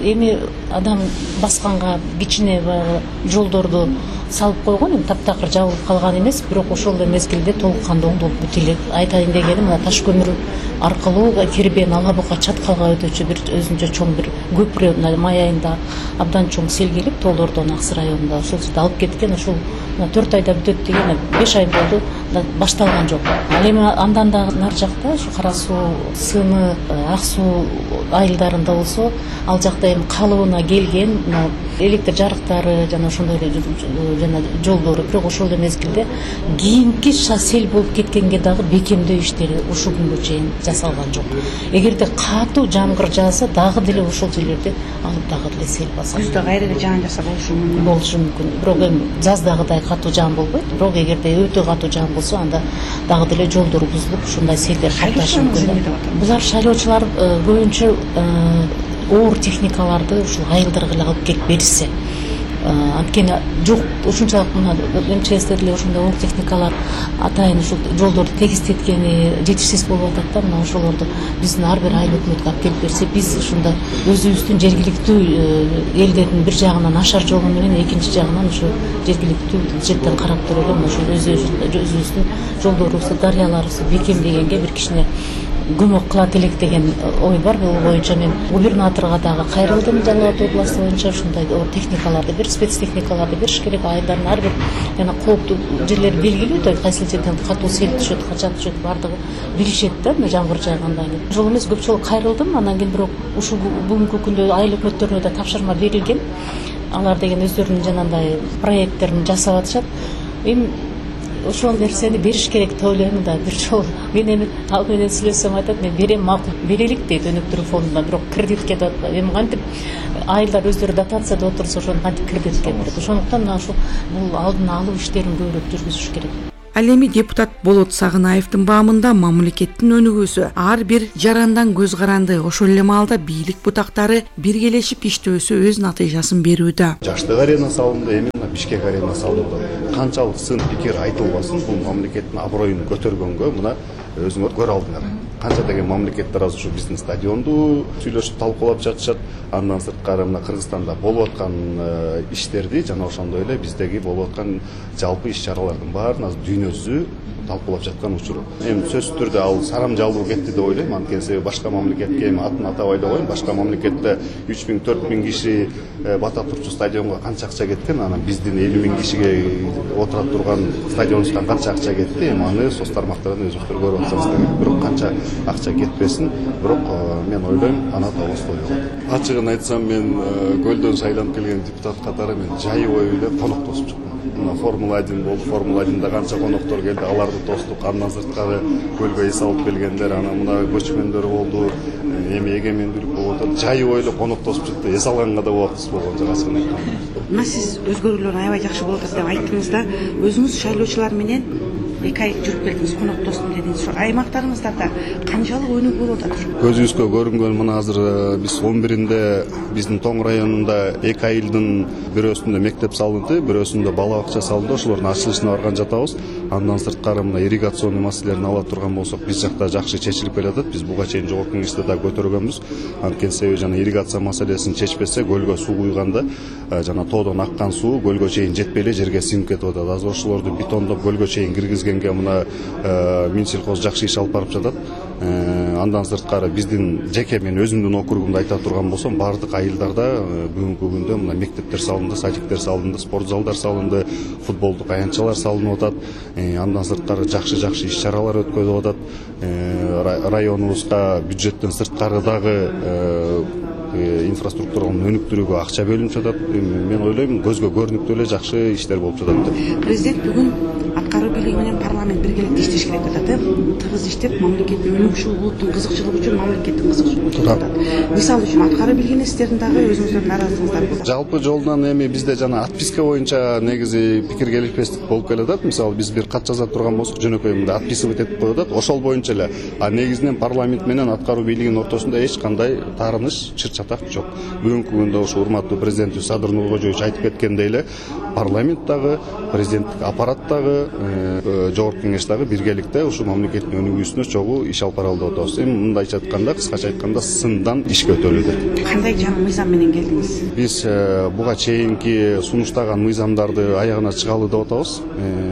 Эми адам басканга кичине баягы жолдорду салып койгон, эми таптакыр жабылып калган эмес, бирок ошол эле мезгилде толук кандуу оңдолуп бүт элек. Айтайын дегеним, мына таш көмүр аркылуу Кербен Ала Бука Чаткалга өтүүчү бир өзүнчө чоң бир көпүрө май айында абдан чоң сел келип, Тоолордон Аксы районунда ошол жерде алып кеткен. Ошол төрт айда бүтөт деген, беш ай болду, башталган жок. Ал эми андан дагы нар жакта ушу Кара суу, Сымы, Ак суу айылдарында болсо, ал жакта эми калыбына келген электр жарыктары жана ошондой эле жана жолдору, бирок ошол эле мезгилде кийинки сел болуп кеткенге дагы бекемдөө иштери ушул күнгө чейин жасалган жок. Эгерде катуу жамгыр жааса, дагы деле ошол жерлерде алып дагы деле сел басат. Күздө кайра эле жаан жаса болушу мүмкүн. Болушу мүмкүн. Бирок эми жаздагыдай катуу жаан болбойт. Бирок эгерде өтө катуу жаан болсо, анда дагы деле жолдор бузулуп, ушундай селдер катташы мүмкүн. Булар шайлоочулар көбүнчө оор техникаларды ушул айылдарга эле алып келип беришсе. Анткени жок, ушунчалык мына МЧСте деле ошондой оор техникалар атайын ушул жолдорду тегистеткени жетишсиз болуп атат да. Мына ошолорду биздин ар бир айыл өкмөткө алып келип берсе, биз ушундай өзүбүздүн жергиликтүү элдердин бир жагынан ашар жолу менен, экинчи жагынан ошо жергиликтүү бюджеттен карап туруп эле ошол өзүбүздүн жолдорубузду, дарыяларыбызды бекемдегенге бир кичине көмөк кылат элек деген ой бар. Бул боюнча мен губернаторго дагы кайрылдым. Жалал Абад областы боюнча ушундай техникаларды, бир спецтехникаларды бериш керек. Айылдардын ар бир жана кооптуу жерлери белгилүү да, кайсы жерден катуу сел түшөт, качан түшөт, бардыгы билишет да, жамгыр жааганда. Ошол эмес, көп жолу кайрылдым. Анан кийин бирок ушул бүгүнкү күндө айыл өкмөттөрүнө да тапшырма берилген. Алар деген өздөрүнүн жанагындай проекттерин жасап атышат. Эми ошол нерсени бериш керек деп ойлойм да. Бир жолу мен эми ал менен сүйлөсөм айтат, мен берем, макул берелик дейт өнүктүрүү фондунда, бирок кредитке деп атпайт. Эми кантип айылдар өздөрү дотация деп отурса, ошону кантип кредитке берет. Ошондуктан мына ушул бул алдын алуу иштерин көбүрөөк жүргүзүш керек. Ал эми депутат Болот Сагынаевдин баамында мамлекеттин өнүгүүсү ар бир жарандан көз каранды. Ошол эле маалда бийлик бутактары биргелешип иштөөсү өз натыйжасын берүүдө. Жаштык арена салынды, эми Бишкек арена салынды. Канчалык сын пикир айтылбасын, бул мамлекеттин аброюн көтөргөнгө мына өзүңөр көрө алдыңар. Канча деген мамлекеттер азыр ушу биздин стадионду сүйлөшүп талкуулап жатышат. Андан сырткары мына Кыргызстанда болуп аткан иштерди жана ошондой эле биздеги болуп аткан жалпы иш чаралардын баарын азыр дүйнө жүзү талкуулап жаткан учуру. Эми сөзсүз түрдө ал сарам жалбыруу кетти деп ойлойм. Анткени себеби башка мамлекетке эми атын атабай эле коеюн. Башка мамлекетте үч миң төрт миң киши бата турчу стадионго канча акча кеткен, анан биздин элүү миң кишиге отура турган стадионубуздан канча акча кетти. Эми аны соц тармактардан өзүңүздөр көрүп атсаңыздар. Бирок канча акча кетпесин, бирок мен ойлойм аны атабыз тойлогон. Ачыгын айтсам, мен көлдөн шайланып келген депутат катары мен жайы бою эле конок тосуп чыктым. Мына Формула один болду, Формула одинде канча коноктор келди, аларды тостук. Андан сырткары көлгө эс алып келгендер, анан мына көчмөндөр болду, эми эгемендүүлүк болуп атат. Жайы бою эле конок тосуп чыкты. Эс алганга да убактыбыз болгон жок, ачыгын айтканда. Мына сиз өзгөрүүлөр аябай жакшы болуп атат деп айттыңыз да, өзүңүз шайлоочулар менен эки ай жүрүп келдиңиз, коноктостум дедиңиз. Ошо аймактарыңыздарда канчалык өнүгүү болуп атат? Көзүбүзгө көрүнгөн мына азыр биз он биринде биздин Тоң районунда эки айылдын бирөөсүндө мектеп салынды, бирөөсүндө бала бакча салынды. Ошолордун ачылышына барган жатабыз. Андан сырткары мына ирригационный маселелерин ала турган болсок, биз жакта жакшы чечилип келатат. Биз буга чейин жогорку кеңеште да көтөргөнбүз. Анткени себеби жана ирригация маселесин чечпесе, көлгө суу куйганда жана тоодон аккан суу көлгө чейин жетпей эле жерге сиңип кетип атат. Азыр ошолорду бетондоп көлгө чейин киргизгенге мына Минсельхоз жакшы иш алып барып жатат. Андан сырткары биздин жеке мен өзүмдүн округумда айта турган болсом, бардык айылдарда бүгүнкү күндө мына мектептер салынды, садиктер салынды, спорт залдар салынды, футболдук аянтчалар салынып атат. Андан сырткары жакшы-жакшы иш-чаралар өткөрүлүп атат. Районубузга бюджеттен сырткары дагы инфраструктураны өнүктүрүүгө акча бөлүнүп жатат. Мен ойлойм, көзгө көрүнүктүү эле жакшы иштер болуп жатат деп. Президент бүгүн аткаруу бийлиги менен парламент биргеликте иштеш керек деп атат. Тыгыз иштеп, мамлекеттин өнүгүшү, улуттун кызыкчылыгы үчүн мамлекеттин кызыкчылыгы деп атат. Мисалы үчүн аткаруу бийлигинин сиздердин дагы өзүңүздөрдүн наразылыгыңыздар болот. Жалпы жолунан эми бизде жана отписка боюнча негизи пикир келишпестик болуп келатат. Мисалы биз бир кат жаза турган болсок, жөнөкөй мындай отписывать этип коюп атат. Ошол боюнча эле. А негизинен парламент менен аткаруу бийлигинин ортосунда эч кандай таарыныш, чыр-чатак жок. Бүгүнкү күндө ошо урматтуу президентибиз Садыр Нуркожоевич айтып кеткендей эле, парламент дагы, президенттик аппарат дагы, жогорку кеңеш дагы биргеликте ушу мамлекеттин өнүгүүсүнө чогуу иш алып баралы деп атабыз. Эми мындайча айтканда, кыскача айтканда, сындан ишке өтөлүүдө. Кандай жаңы мыйзам менен келдиңиз? Биз буга чейинки сунуштаган мыйзамдарды аягына чыгалы деп атабыз.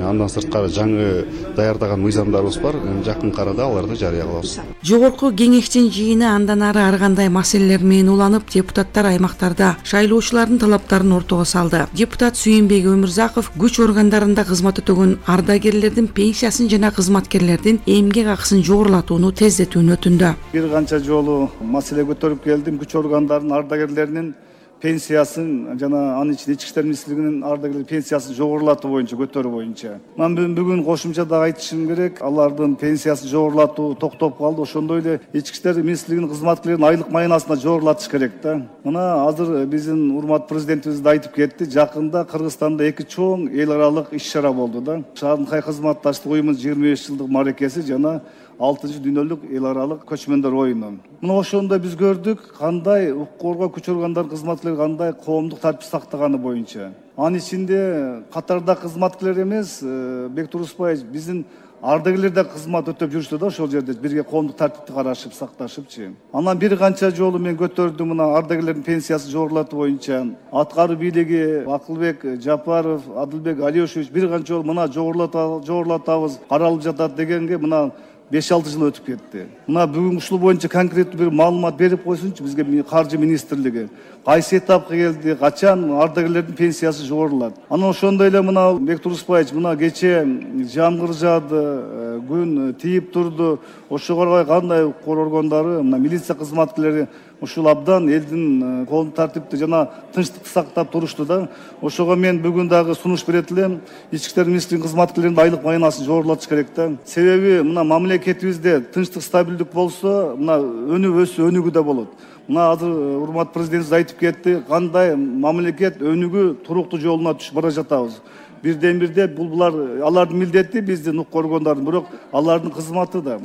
Андан сырткары жаңы даярдаган мыйзамдарыбыз бар. Жакын арада аларды жарыя кылабыз. Жогорку кеңештин жыйыны андан ары ар кандай маселелер менен уланып, депутаттар аймактарда шайлоочулардын талаптарын ортого салды. Депутат Сүйүнбек Өмүрзаков күч органдарында кызмат өтөгөн ардагерлердин пенсиясын жана кызматкерлердин эмгек акысын жогорулатууну тездетүүнү өтүндү. Бир канча жолу маселе көтөрүп келдим. Күч органдарынын ардагерлеринин пенсиясын жана анын ичинде ички иштер министрлигинин ардагерлер пенсиясын жогорулатуу боюнча, көтөрүү боюнча. Мен бүгүн кошумча да айтышым керек. Алардын пенсиясын жогорулатуу токтоп калды. Ошондой эле ички иштер министрлигинин кызматкерлеринин айлык майынасына жогорулатыш керек да. Мына азыр биздин урматтуу президентибиз да айтып кетти. Жакында Кыргызстанда эки чоң эл аралык иш-чара болду да. Шанхай кызматташтык уюмунун жыйырма беш жылдык маракеси жана алтынчы дүйнөлүк эл аралык көчмөндөр оюну. Мына ошондо биз көрдүк кандай укук коргоо күч органдары кызматкерлери кандай коомдук тартип сактаганы боюнча. Анын ичинде катарда кызматкерлер эмес, Бектур Успаевич, биздин ардагерлер да кызмат өтөп жүрүштү да ошол жерде бирге коомдук тартипти карашып, сакташыпчы. Анан бир канча жолу мен көтөрдүм мына ардагерлердин пенсиясын жогорулатуу боюнча. Аткаруу бийлиги Акылбек Жапаров, Адылбек Алиошевич бир канча жолу мына жогорулатабыз, каралып жатат дегенге мына беш алты жыл өтүп кетти. Мына бүгүн ушул боюнча конкреттүү бир маалымат берип койсунчу бизге каржы министрлиги. Кайсы этапка келди, качан ардагерлердин пенсиясы жогорулат. Анан ошондой эле мына Бектур Успаевич мына кече жамгыр жаады, күн тийип турду. Ошого карабай кандай укук органдары, мына милиция кызматкерлери ушул абдан элдин коомдук тартипти жана тынчтыкты сактап турушту да. Ошого мен бүгүн дагы сунуш берет элем. Ички иштер министрлигинин кызматкерлеринин айлык майынасын жогорулатыш керек да. Себеби мына мамлекетибизде тынчтык, стабилдик болсо, мына өнүгүү өсө өнүгүү да болот. Мына азыр урматтуу президентибиз айтып кетти, кандай мамлекет өнүгүү туруктуу жолуна түшүп бара жатабыз. Бирден бирде бул булар алардын милдети биздин укук органдардын, бирок алардын кызматы да.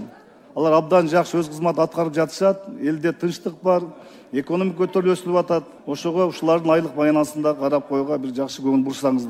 Алар абдан жакшы өз кызматын аткарып жатышат. Элде тынчтык бар, экономика көтөрүлүп өсүлүп атат. Ошого ушулардын айлык майынасын да карап коюуга бир жакшы көңүл бурсаңыздар.